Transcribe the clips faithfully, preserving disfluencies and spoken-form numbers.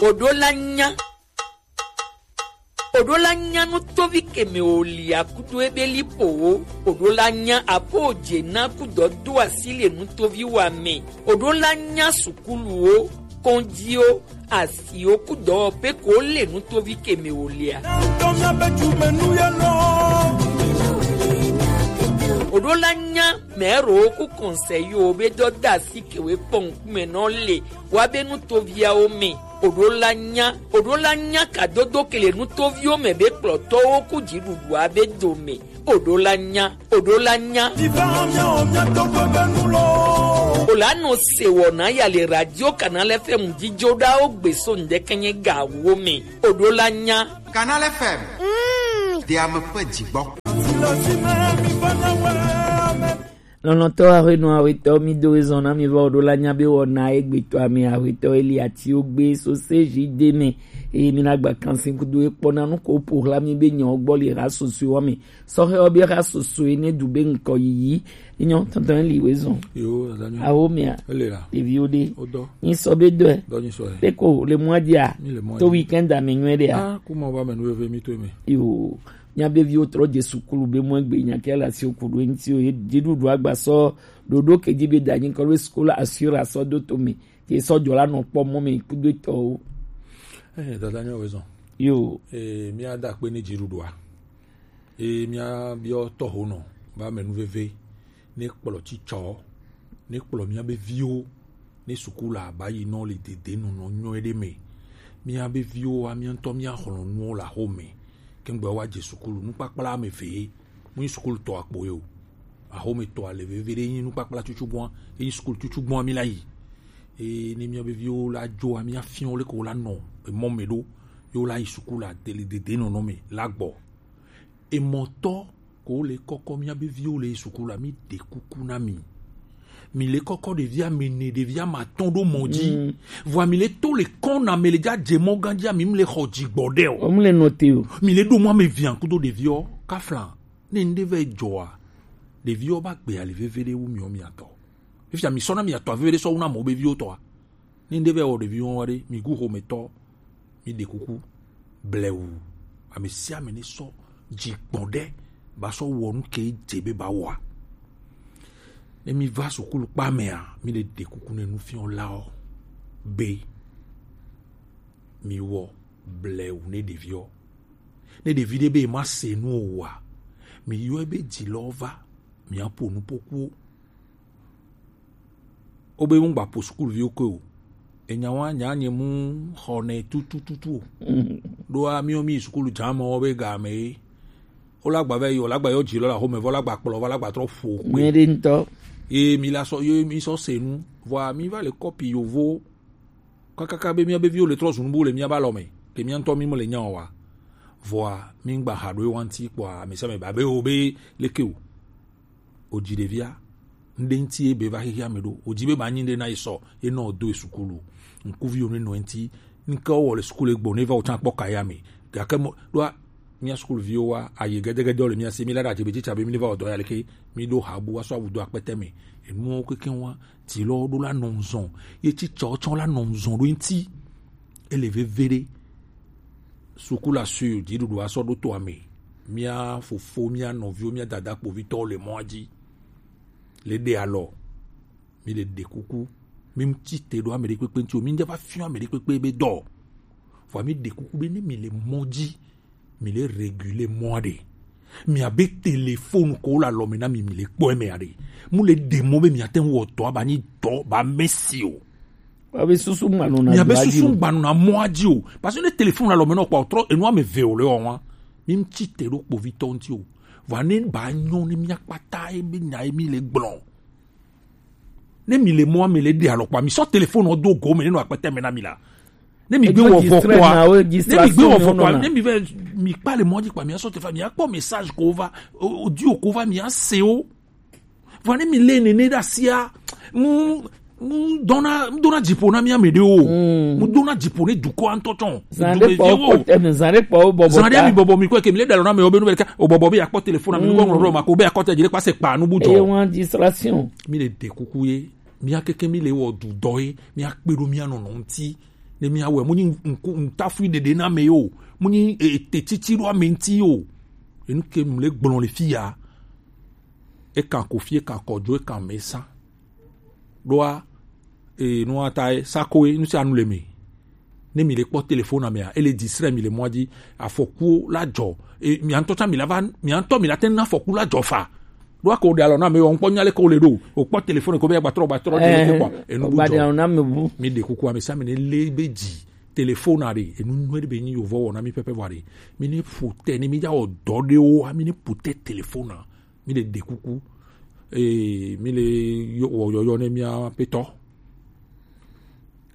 Oɖo la nya. Oɖo la nya nutovi keme o li akudo ebe li po wo. Oɖo la nya apo je na kudɔ do asi le nutovi wa me. Oɖo la nya sukulu wo, kɔnji wo, asi wo kudɔ pe ko le nutovi keme o lia. Oɖo la nya mɛro ku kɔnsɛyi wo be dɔ da asi kewe kpɔn kume nɔ le wa be nutoviawo me. Oɖo la nya, oɖo la nya kadodo kele nutoviwo me be kplɔtɔwo ku dziɖuɖua be dome. Oɖo la nya, oɖo la nya. Ola nɔ se wɔ na ya le radio Canal F M jijo ɖawo gbe so ŋdɛkɛnyɛ gawo me. Oɖo la nya. Canal F M. Mm. Diame ƒe dzigbɔ. Lɔlɔ̃tɔ aƒenɔ aƒetɔ, mi do ezɔn na mi va oɖo la nya be wɔna egbetɔ ame aƒetɔ Eli Atiwo gbe so se zi de me. Eye mi na gba kansi kudo ekpɔ na nu ko po hla mi be nyɔ gbɔ le ha soso wa me. Sɔhɛ wo be ha soso ene du be ŋkɔ yiyi. Nyɔ tɔntɔn li we zɔn. Yo, adanyo. Awo mea. Ele la. Ɖeviwo ɖe. Odo. Nyi sɔ be dɔe. Dɔ nyi sɔ e. Pe ko le mɔ dia. Mi le mɔ to dia. Weekend a me nyuie ɖe a. Ah, kuma ba me nu veve mi to me. Yo. Míabe viwo trɔ dze sukulu be mɔ egbe nya ke le asiwò ku ɖo eŋuti o. Ye dziɖuɖu agba sɔ ɖoɖo ke dzi be da nyi kɔ be sukulu assurance sɔ do to me. Ke sɔ dzɔ la nɔ kpɔ mɔ me kudo etɔwo. Eh, dada nyo wezɔn. Yo. Eh, mía da akpe ne dziɖuɖua. Eh, mía biɔ tɔho nɔ ba me nu veve. Ne kplɔ tsitsɔ, ne kplɔ míabe viwo, ne suku la ba yi nɔ le dede nɔnɔ nyɔe ɖe me. Míabe viwo wa mía ŋutɔ mía xlɔnuwo le axome. Kengbe wa dze sukulu nukpakpla ame eve ye. Mu yi sukulu tɔ akpo ye o. Axome tɔ ale veve ɖe yi nukpakpla tutu gbɔn, yi sukulu tutu gbɔn mi la yi. Eye ne míabe viwo la dzo wa mía fiɔ le ko la nɔ emɔ me ɖo. Yo la yi sukulu la deli dede nɔnɔ me la gbɔ. Emɔtɔ ko le kɔkɔ míabe viwo le suku la, mi ɖe kuku na mi. Mi le kɔkɔ ɖevi ame ene, ɖevi ame atɔ̃ ɖo mɔ dzi. Mm. Vɔa mi le to le kɔn na me le dza dze mɔ gã dzi, mi le xɔ dzi gbɔ ɖe o. O mu le note o. Mi le ɖo mɔ ame via kudo ɖeviwo kafla. Ne ŋɖe vɛ dzɔa, ɖeviwo ba gbe ali veve ɖe wu miɔ miatɔ. Fifia mi sɔ na miatɔ veve ɖe sɔ wu na mɔ be viwo tɔa. Ne ŋɖe vɛ wɔ ɖevi wɔn wa ɖe, mi gu xometɔ, mi ɖe kuku, blewu. Ame sia ame ne sɔ dzi gbɔn ɖe ba sɔ wɔ nu ke dze be ba wɔa. Ne mi va sukulu kpa mea, mi le ɖe kuku ne nufiɔlawo be mi wɔ blewu ne ɖeviwo. Ne ɖevi ɖe be ma se nu o wa, mi yɔe be dzi lɔ va, mi aƒo nu pokuwo. Wobe ŋgba ƒo sukulviwo koe o. Enya wa nya nye mu xɔ nɛ tutututu o. Mm. Ɖoa miwo mi sukulu dza me wo be game ye. Wo la gba va yi, wo la gba yɔ dzi lɔ la xɔme vɔ la gba kplɔ va la gba trɔ ƒo kpe. Nyuie ɖe ŋutɔ. Ye mi la sɔ, ye mi sɔ se nu. Vɔa mi va le kɔpi yovo. Kakaka be mía be viwo le trɔ zu nubu le mía ba lɔ me. Ke mía ŋutɔ mi me le nya o wa. Vɔa mi ŋgba ha ɖo wa ŋuti kpɔa mi se me ba be wo be leke o. O dzi ɖevia, ŋɖe ŋuti ye be va xexea me ɖo. O dzi be ba nyi ŋɖe na ye sɔ, ye nɔ do ye sukulu. Ŋkuviwo ne nɔ eŋuti, ŋke wɔ le sukulu egbɔ, ne va wo tsã kpɔ ka ya me. Gake mɔ, ɖoa, mía sukuluviwo wa, aye gɛdɛgɛdɛ le mía si, mi la ɖa dze be tsitsa be mi va wɔ dɔ ya leke, mi ɖo ha bu wa sɔ awu do akpɛtɛ me. Enuwo keke wa, ti lɔ ɖo la nɔ ŋzɔn, ye tsitsa tsɔ la nɔ ŋzɔn ɖo eŋuti. Ele veve ɖe. Suku la su dziɖuɖu asɔ ɖo to ame. Mía fofo, mía nɔviwo, mía dada kpovitɔwo le mɔa dzi. Le ɖe alɔ. Mi le ɖe kuku. Mi ŋuti te ɖo ame ɖe kpekpe ŋuti o. Mi ŋdza va fiɔ ame ɖe kpekpe be dɔ. Vɔa mi ɖe kuku be ne mi le mɔ dzi, mi le régulé mɔa ɖe. Mi abe téléphone ko le alɔ me na mi, mi le kpɔ eme aɖe. Mu le ɖe mɔ be mi ate ŋu wɔ dɔ aba nyi dɔ ba mesi o. Wa be susu ŋgba nɔna. Mi abe dɔa dzi susu o. Ŋgba nɔna mɔa dzi o. Parce que ne téléphone le alɔ me nɔ kpɔ trɔ enu ame eve o le wɔn wa. Mi ŋuti te ɖo kpovitɔ ŋuti o. Vɔa ne ba nyɔ ne mía kpata ye be nya ye mi le gblɔ. Ne mi le mɔa mi le ɖe alɔ kpɔa, mi sɔ téléphone do go me ne nɔ akpɛtɛ me na mi la. Ne mi gbe wɔ vɔ kpɔa, ne mi gbe wɔ vɔ kpɔa, ne mi vɛ mi kpa le mɔ dzi kpɔa, mi asɔ téléphone, mi akpɔ message ko va, o, audio ko va, mi ase o. Vɔ ne mi le nene ɖe asia, mu Mu dona mu dona dziƒo na mía me ɖewo. Mu dona dziƒo ne dukɔa ŋutɔ tsɔ. Zan ɖe kpɔ wo kpɔ tɛmɛ, zan ɖe kpɔ wo bɔbɔ ta. Zan ɖe mi bɔbɔ mi kɔ ke mi le ɖalɔ na me wo be nu be ɖeka o bɔbɔ be yakpɔ telefon na mi nu kɔ ŋlɔ ɖo ma ko be akɔta dzi ɖe kpa se kpa nu bu dzɔ. Eye wọn distraction. Mi le ɖe kuku ye, mía keke mi le wɔ du dɔ ye, mía kpe ɖo mía nɔnɔ ŋuti. Ne mía wɛ mu nyi ŋku ŋutafui ɖeɖe na me yo, mu nyi ete titi ɖo ame ŋuti yo. Enu ke mi le gblɔ le fi ya. Ekan kofi, ekan kɔdzo, ekan mesa. Ɖoa e nua ta e sako e nu sia nu le me. Ne mi le kpɔ telefon na mea, ele distrait mi le mɔa dzi. Afɔkuwo la dzɔ. E mia ŋutɔ tsã mi la va mia ŋutɔ mi la te na afɔku la dzɔ fa. Ɖoa ko ɖe alɔ na me o ŋkpɔ nya le ko le ɖo. O kpɔ telefon ko be agbatrɔ gbatrɔ de le kpɔ. Enu bu dzɔ. Mi ɖe kuku ame sia ame ne le be dzi telefon na ɖe enu nyuie ɖe be nyi yovɔ wɔ na mi pɛpɛ vɔ ɖe. Mi ne ƒo te ne mi dza wɔ dɔ ɖewo mi ne ƒo te telefon na. Mi le ɖe kuku. Ee, mi le yɔ- wɔ yɔyɔ ne mia petɔ.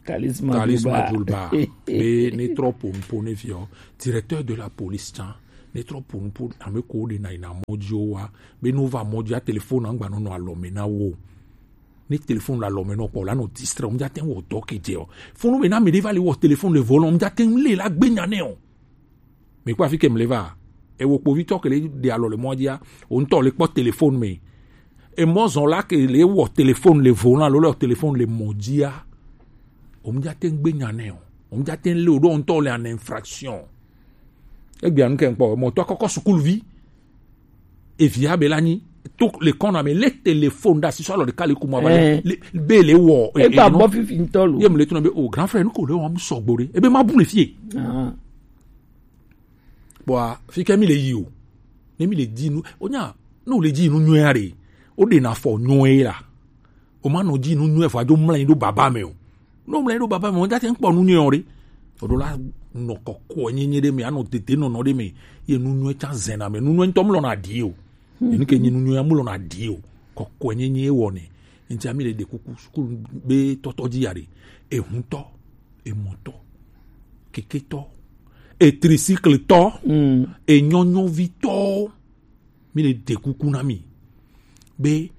Talisma Talisma Djulba. Djulba. Be ne trɔ po nupo ne viɔ. Directeur de la police tsã. Ne trɔ po nupo ame ko de na yina mɔdzi wa. Be no va mɔdzi a telefon na ngba no no alɔ me na wo. Ne telefon la alɔ me no kpɔ la no distrait. Mja ten wɔ dɔ ke dze o. Funu me na me de va le wɔ telefon le volant. Mja ten le la gbe nya ne o. Mi kpɔ afi ke mi le va. Ewo kpovitɔ ke le ɖe alɔ le mɔa dzia, o ŋutɔ le kpɔ telefon me. Emɔ zɔn la ke le wɔ telefon le volant alo le wɔ telefon le mɔ dzia. O mu dza te ŋgbe nya nɛ o. O mu dza te le o ɖo ŋutɔ le an infraction. Egbea nu ke ŋkpɔ mɔtɔ kɔkɔ sukuluvi. Evia be la nyi to le kɔna me le telefon da sisɔ alɔ ɖeka le kuma ba le be le wɔ. Egba bɔ fifi ŋutɔ lo. Ye mu le tuna be o grand frère nu ko le wɔm sɔgbo ɖe ebe ma bu le fie. Kpɔa fi ke mi le yi o. Ne mi le dzi nu o nya ne o le dzi nu nyuie aɖe o ɖe na fɔ nyuie la. O ma nɔ dzi nu nyuie fɔ adzo mlɔ anyi ɖo baba me o. Ne o mlɔ anyi ɖo baba me o date ŋkpɔ nu nyuie o ɖe. O ɖo la nɔ kɔkɔ nyenye ɖe me anɔ tete nɔnɔ ɖe me ye nu nyuie tsa zena me nu nyuie ŋutɔ mlɔ na ɖi o. Enu ke nye nu nyuie mlɔ na ɖi o. Kɔkɔ nyenye wɔ ne. Ŋti ami le ɖe kuku sukulu be tɔtɔ dzi ya ɖe. Ehuntɔ, emɔtɔ, keketɔ, etrisiklitɔ, enyɔnyɔvitɔ. Mi le ɖe kuku na mi be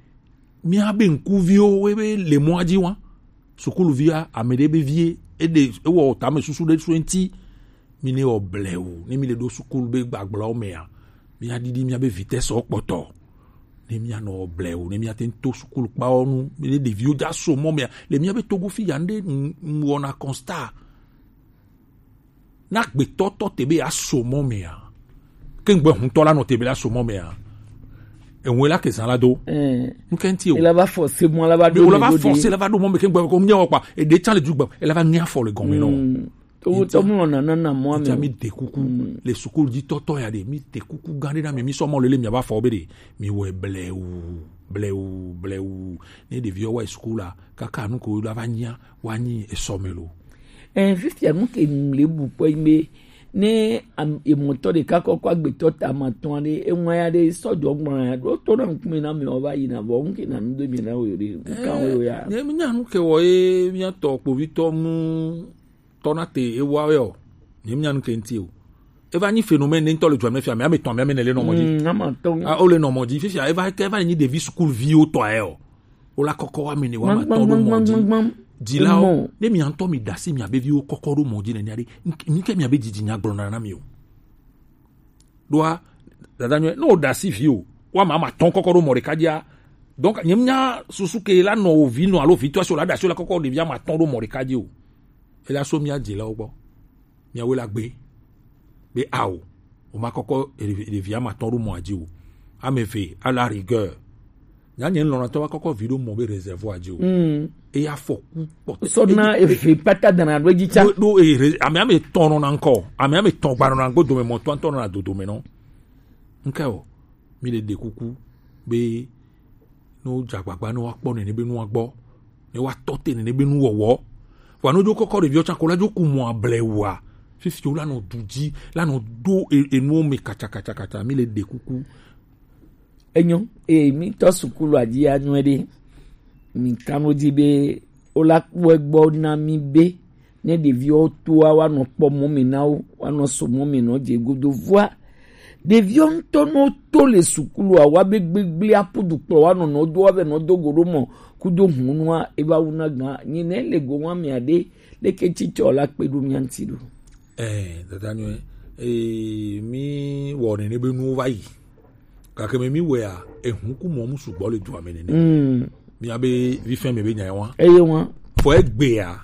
mia be ŋkuviwo we be le mɔa dzi wa sukuluvia ame ɖe be vie eɖe ewɔ tame susu ɖe so ŋti. Mi ne wɔ blewu ne mi le ɖo sukulu be gbagblɔwo mea mia ɖiɖi mia be vitesse kpɔtɔ ne mia nɔ wɔ blewu ne mia te to sukulu kpawo nu ne ɖeviwo dza so mɔ mea le mia be togo fi ya ne ɖe wɔna constat. Na gbetɔ tɔ te be aso mɔ mea ke ŋgbɛ huntɔ la nɔ te be la so mɔ mea eŋue la ke zan la do. Ŋkɛ ŋti o. Ela va force mɔ la va do. Ela va force la va do mɔ me ke ŋgbɛ ko mia wɔ kpa eɖe tsa le du gbɛ ela va ŋe afɔ le gɔme nɔ. Togo tɔ mu lɔ nana na mɔ me. Mi de kuku le sukulu dzi tɔtɔ ya de mi de kuku gan de na mi mi sɔ mɔ lele mi ava fɔ be de mi wɔ blewu blewu blewu ne ɖeviwo wa sukulu la kaka nu ko la va nyia wa nyi esɔ me lo. Ɛɛ, fifia nu ke mle bu kpɔ be ne emɔtɔ ɖeka kɔkɔ agbetɔ ta ma tɔn ɖe eŋua ya ɖe sɔjɔ gblɔ ya ɖo to na ŋkume na mi ɔva yi na vɔ ŋke na nu do mi na wo ɖe ŋka wo ya. Ne mi nya nu ke wɔ ye mi atɔ kpovitɔ mu tɔ na te ewa yɔ ne mi nya nu ke ŋti o. Eva nyi phénomène ne ŋtɔ le dua me fia mi ame tɔn mi ame ne le nɔ mɔ dzi. Mm, ama tɔn. A o le nɔ mɔ dzi fifia eva ke eva nyi ɖevi sukulu viwo tɔ ayɛ o. Wola kɔkɔ wa mi ne wa ma tɔ ɖo mɔ dzi. Dzilawo ne mia ŋutɔ mi dasi mia be viwo kɔkɔ ɖo mɔ dzi nenia ɖe nike mia be dzidzi nya gblɔna na mi o. Ɖoa dada nyɔe ne o dasi vi o wa ma ma tɔn kɔkɔ ɖo mɔ ɖeka dzia. Donc nye mia susu ke la nɔ o vi nɔ alo vi tɔ si o la dasi o la kɔkɔ ɖevia ma tɔn ɖo mɔ ɖeka dzi o. Ela so mia dzilawo gbɔ. Miawoe la gbe be ao o ma kɔkɔ ɖevi ama tɔn ɖo mɔa dzi o. Ame eve à la rigueur nya nye lɔnatɔ wa kɔkɔ vi ɖo mɔ be réservoir dzi o. Eya fɔku kpɔtɔ sɔna eve pata dana ɖo edzi tsa. Ɖo ame ame tɔn nɔ na ŋkɔ ame ame tɔn gba nɔ na ŋgbo dome mɔ tɔn tɔn nɔ na dodo me nɔ. Ŋkɛ o mi le ɖe kuku be ne wodze agbagba ne woakpɔ nene be nua gbɔ ne woatɔ te nene be nuwɔwɔ. Vɔa ne wodzo kɔkɔ ɖeviwo tsã ko la dzo ku mɔ ablewua fifi wo la nɔ du dzi la nɔ do enuwo me katsakatsakatsa mi le ɖe kuku. Enyo eye mi tɔ sukulu adzi anyɔe ɖe mi kan wo dzi be wola kpɔe gbɔ na mi be ne ɖeviwo toa woanɔ kpɔ mɔ me na wo woanɔ so mɔ me nɔ dze godo vɔa Ɖeviwo ŋutɔ nɔ to le sukulu a wa be gbegble aƒu dukplɔ wa nɔnɔ do wa vɛ nɔ do go ɖo mɔ kudo hunua eva wu na gan nyi ne le go wa mia ɖe leke tsitsɔ la kpe ɖo mia ŋuti ɖo. Eh, dada nyɔe. Eh, mi wɔ nene be nuwo va yi. Gake me mi wɔea, ehun ku mɔ mu sugbɔ le dua me nene. Mm. Mia be vi fɛn me be nya wa. Eye wa. Fɔ egbea,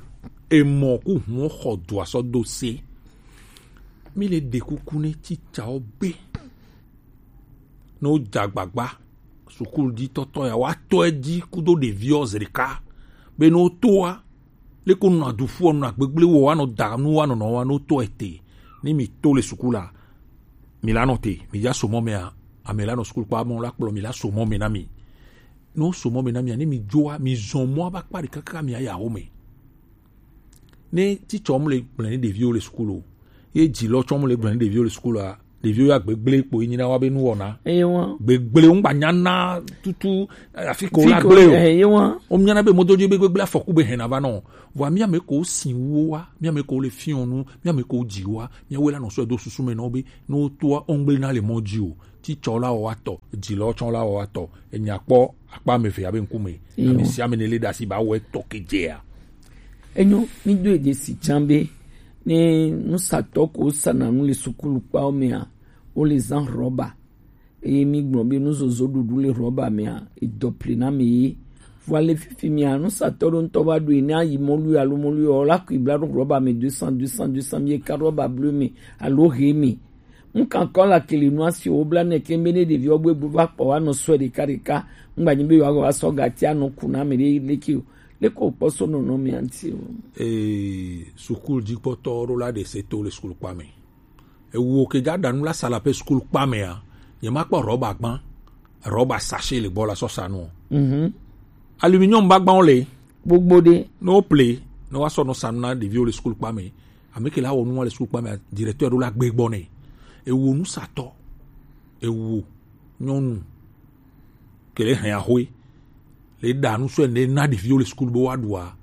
emɔ ku hun xɔ dua sɔ do se. Mi le ɖe kuku ne tsitsawo be. Ne wodze agbagba, sukulu dzi tɔtɔ ya, woatɔ edzi kudo ɖeviwo zi ɖeka. Be ne wotoa, leke wonɔna du ƒua, wonɔna gbegble wɔ, woanɔ da nu, woanɔ nɔ wa, ne wotɔ ete, ne mi to le sukulu la, mi la nɔ te, mi dza so mɔ mea, ame la nɔ sukulu kpa mɔ la kplɔ mi la so mɔ me na mi. Ne woso mɔ me na mi, ne mi dzoa, mi zɔn mɔa va kpa ɖeka kaka mi aya wo me. Ne titsɔ mu le gblẽ ne ɖeviwo le sukulu o, ye dzilɔ tsɔ mu le gblẽ ne ɖeviwo le sukulu a, ɖeviwo ya gbegble kpo yi nyina wa be nuwɔna. Eye wa. Gbegble wo ŋgba nyana tutu, eh, afi ko la gble o. Eye wa. Wo miana be mɔdodzi be gbegble afɔku be hɛn na va nɔ. Vɔa mia me ko si wo wa, mia me ko le fiɔ nu, mia me ko dzi wa, mia we la nɔ sɔ do susu me nɔ be no to o ŋgble na le mɔ dzi o. Titsɔ la wɔ wa tɔ, dzilɔ tsɔ la wɔ wa tɔ. Enya kpɔ akpa me ve abe ŋkume. Eye wa. Ame sia ame ne le ɖe asi ba wɔ etɔ ke dzea. Enyo, mi do ede si tsã be ne nusatɔ ko sana nu le sukulu kpawo mea, wo le zã rɔba. Eye mi gblɔ be nuzozo ɖuɖu le rɔba mea, edɔ pli na mi ye. Vɔa le fifi mea, nusatɔ ɖo ŋutɔ va ɖu yi ne ayi mɔlu alo mɔlu yɔ la kui bla ɖo rɔba me deux cents, deux cents, deux cents, mi ka rɔba bleu me alo he me. Ŋkan kɔ la kele nu asi wo bla ne ke be ne ɖeviwo gbe bu va kpɔ wa nɔ sɔe ɖeka ɖeka. Ŋgba nyi be yewoagɔ va sɔ gati anɔ ku na ame ɖe leke o. Leke wokpɔ so nɔnɔmea ŋuti o? Ee, sukulu dzikpɔtɔ ɖo la ɖe se to le sukulu kpa me. Ewo ke dza ɖa nu la sala pe sukulu kpa mea, nye ma kpɔ rɔba gbã, rɔba sachet le gbɔ la sɔ sa nu. Mhm. Aluminium ba gbãwo le. Gbogbo ɖe. Ne wo ple, ne wa sɔ nɔ sa nu na ɖeviwo le sukulu kpa me. Ame ke la wɔ nua le sukulu kpa mea, directeur ɖo la gbe gbɔ nɛ. Ewo nusatɔ, ewo nyɔnu ke le hɛn axoe le ɖa nu sɔe ne na ɖeviwo le sukulu be woaɖua.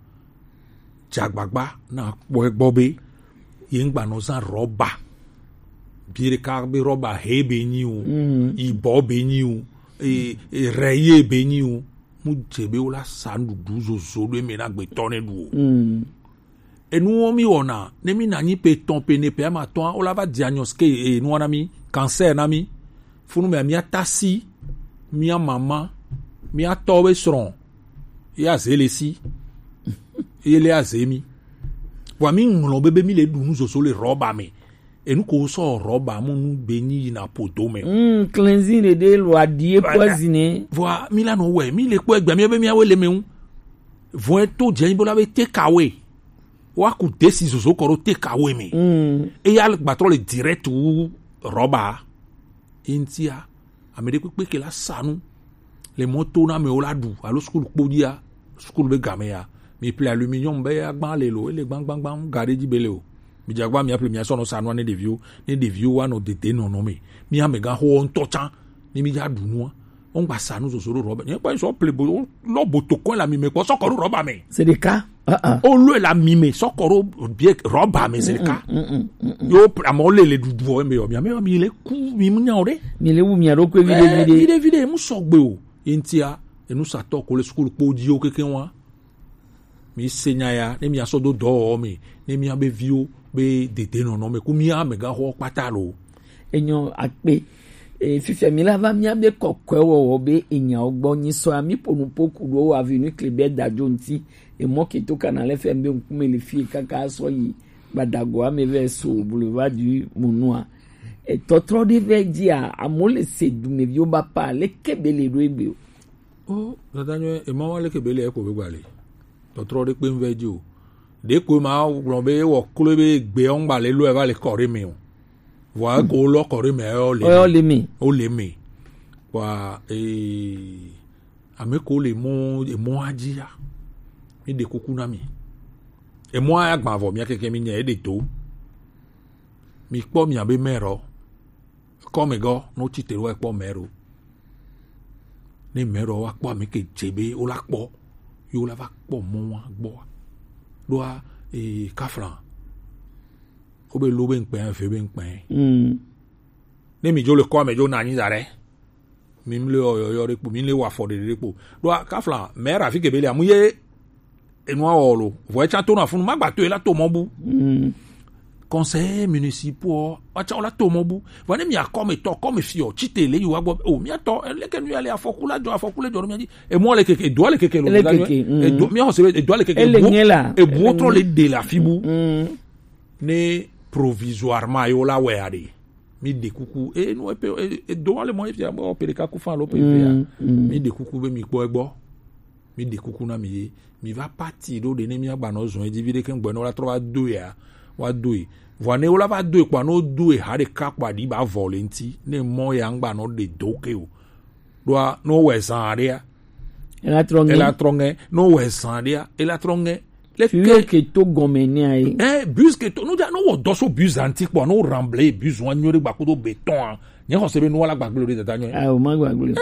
Dze agbagba na kpɔe gbɔ be ye ŋgba nɔ zã rɔba. Bi ɖeka be rɔba he be nyi o, mm, yibɔ be nyi o, e, e, rɛ ye be nyi o. Mu dze be wo la sa nuɖuɖu zozo ɖo eme na gbetɔ ne ɖu o. Mm. Enuwo mi wɔna, ne mi na nyi pe etɔ̃, pe ene, pe ame atɔ̃a, wo la va di anyɔ sike, e, nua na mi, cancer na mi. Funu mea, mia tasi, mia mama, mia tɔ be srɔ̃, ye aze le si, ye le aze mi. Vɔa mi ŋlɔ be, be mi le ɖu nu zozo le rɔba me. Enu ko sɔ rɔba mu nu be nyi yina podo me. Mm, cleansing ɖeɖe lo adie poison. Vɔa mi la nɔ wɛ, mi le kpɔ egbe, mi be mi awe le me ŋu. Vɔe to dze anyi bo la be take away. Wa ku desi zozo kɔ ɖo take away me. Mm. Eya gbatrɔ le direct wu rɔba. Ye ŋutia, ame ɖe kpekpe ke la sa nu le mɔ to na amewo la ɖu alo sukulu kpo dzia, sukulu be game ya. Mi ple aluminium be agba le lo, ele gbãgbãgbã, ga ɖe dzi be le o. Mi dze agba mia ple mia sɔ nɔ sa nua ne ɖeviwo, ne ɖeviwo wa nɔ dede nɔnɔ me. Mi amegã xo ŋutɔ tsã, ne mi dza ɖu nua, wo ŋgba sa nu zozo ɖo rɔba. Nye kpɔ sɔ ple bo, lɔ bo to kɔe la mi me kpɔ sɔ kɔ ɖo rɔba me. C'est le cas. Ah, ah. Wo lɔe la mi me sɔ kɔ ɖo bie rɔba me, c'est le cas. Mm, mm, mm, mm, mm. Yo, amewo le le ɖuɖu o, eme yɔ, mia me yɔ, mi le ku, mi mu nya o ɖe. Mi le wu mia ɖokui viɖe, eh, viɖe. Viɖe, viɖe, mu sɔgbe o. Ye ŋutia, enusatɔ ko le sukulu kpo dziwo kekeŋ wa. Mi se nya ya, ne mia sɔ do dɔwɔwɔ me, ne mia be viwo be dede nɔnɔ me, ku mia amegãxɔ kpata lo. Enyo akpe. E, fifia mi la va mia be kɔkɔe wɔwɔ be enyawo gbɔ nyi sɔ ya, mi ƒo nu ƒo ku ɖo Avenue Kléber Dadio ŋuti. Emɔ ke to Canal F M be ŋkume le fie kaka sɔ yi Gbadago ame vɛ so Boulevard du Monua. Etɔtrɔ ɖe vɛ dzia, amewo le se dumeviwo ba pa, leke be le ɖo egbe o. O, dada nyɔe, ema wa leke be le eko be gba le. Tɔtrɔ ɖe kpe ŋvɛ dzi o. Ɖe ko ma gblɔ be wɔ klo be gbe ɔŋgba le lo eva le kɔ ɖe me o. Vɔa eko lɔ kɔ ɖe me eyɔ le. Eyɔ le me. O le me. Vɔa, ee, ame ko le mɔ, emɔa dzi ya. Mi ɖe kuku na mi. Emɔa ya gbã vɔ mia keke mi nya eɖe to. Mi kpɔ mia be mɛ rɔ. Kɔmegɔ, ne wotsi tre wa kpɔ mɛ ɖo. Ne mɛ ɖo wa kpɔ ame ke dze be wo la kpɔ, ye wo la va kpɔ mɔ wa gbɔ wa. Ɖoa, ee, kafla. Wo be lo be ŋkpɛ, ave be ŋkpɛ. Mm. Ne mi jo le kɔ me jo na anyi da ɖe. Mi mle ɔyɔyɔ ɖe kpo, mi le wa fɔ ɖeɖe ɖe kpo. Ɖo kafla, mɛ ra fi ke be le amu ye. Enua wɔ lo. Vɔ etsa to na funu, ma gba to e la to mɔ bu. Conseillers municipaux, watsa wala to mɔ bu. Vɔ ne mi akɔme tɔ, kɔme fiɔ, tsite le yi wa gbɔ. O, mi atɔ, leke nu ya le afɔku la jɔ, afɔku le jɔ ɖo mi dzi. Emɔ le keke, edoa le keke lo. Ele keke, mm. Edo, mi ɔse, edoa le keke. Ele ebu, nye la. Ebu trɔ le de la fi bu. Ne provisoirement yo la wɛ aɖe. Mi ɖe kuku. E, nu epe, e, e, do wa le mɔ efia, o, pele ka ku fan lo pe efia. Mi ɖe kuku be mi kpɔ egbɔ. Mi ɖe kuku na mi ye. Mi va parti ɖo ɖe ne mi agba nɔ zɔn edzi vi ɖe ke ŋgbɛ ne wo la trɔ va do ya, wa do yi. Vɔ ne wo la va do yi kpɔ, ne wo do yi ha ɖeka kpɔ aɖi ba vɔ le ŋti, ne mɔ ya ŋgba nɔ ɖe do ke o. Ɖoa, ne wo wɛ zan aɖea, ela trɔ ŋɛ. Ela trɔ ŋɛ. Ne wo wɛ zan aɖea, ela trɔ ŋɛ. Le ke ke to gɔme ne ayi. Eh, bus ke to, no ja, no wo dɔ so bus anti kpɔ, no ramble bus wa nyo ɖe gba kodo beton a. Nye xɔ se be no wa la gbagble ɖe dada nyo. Ah, o ma gbagble.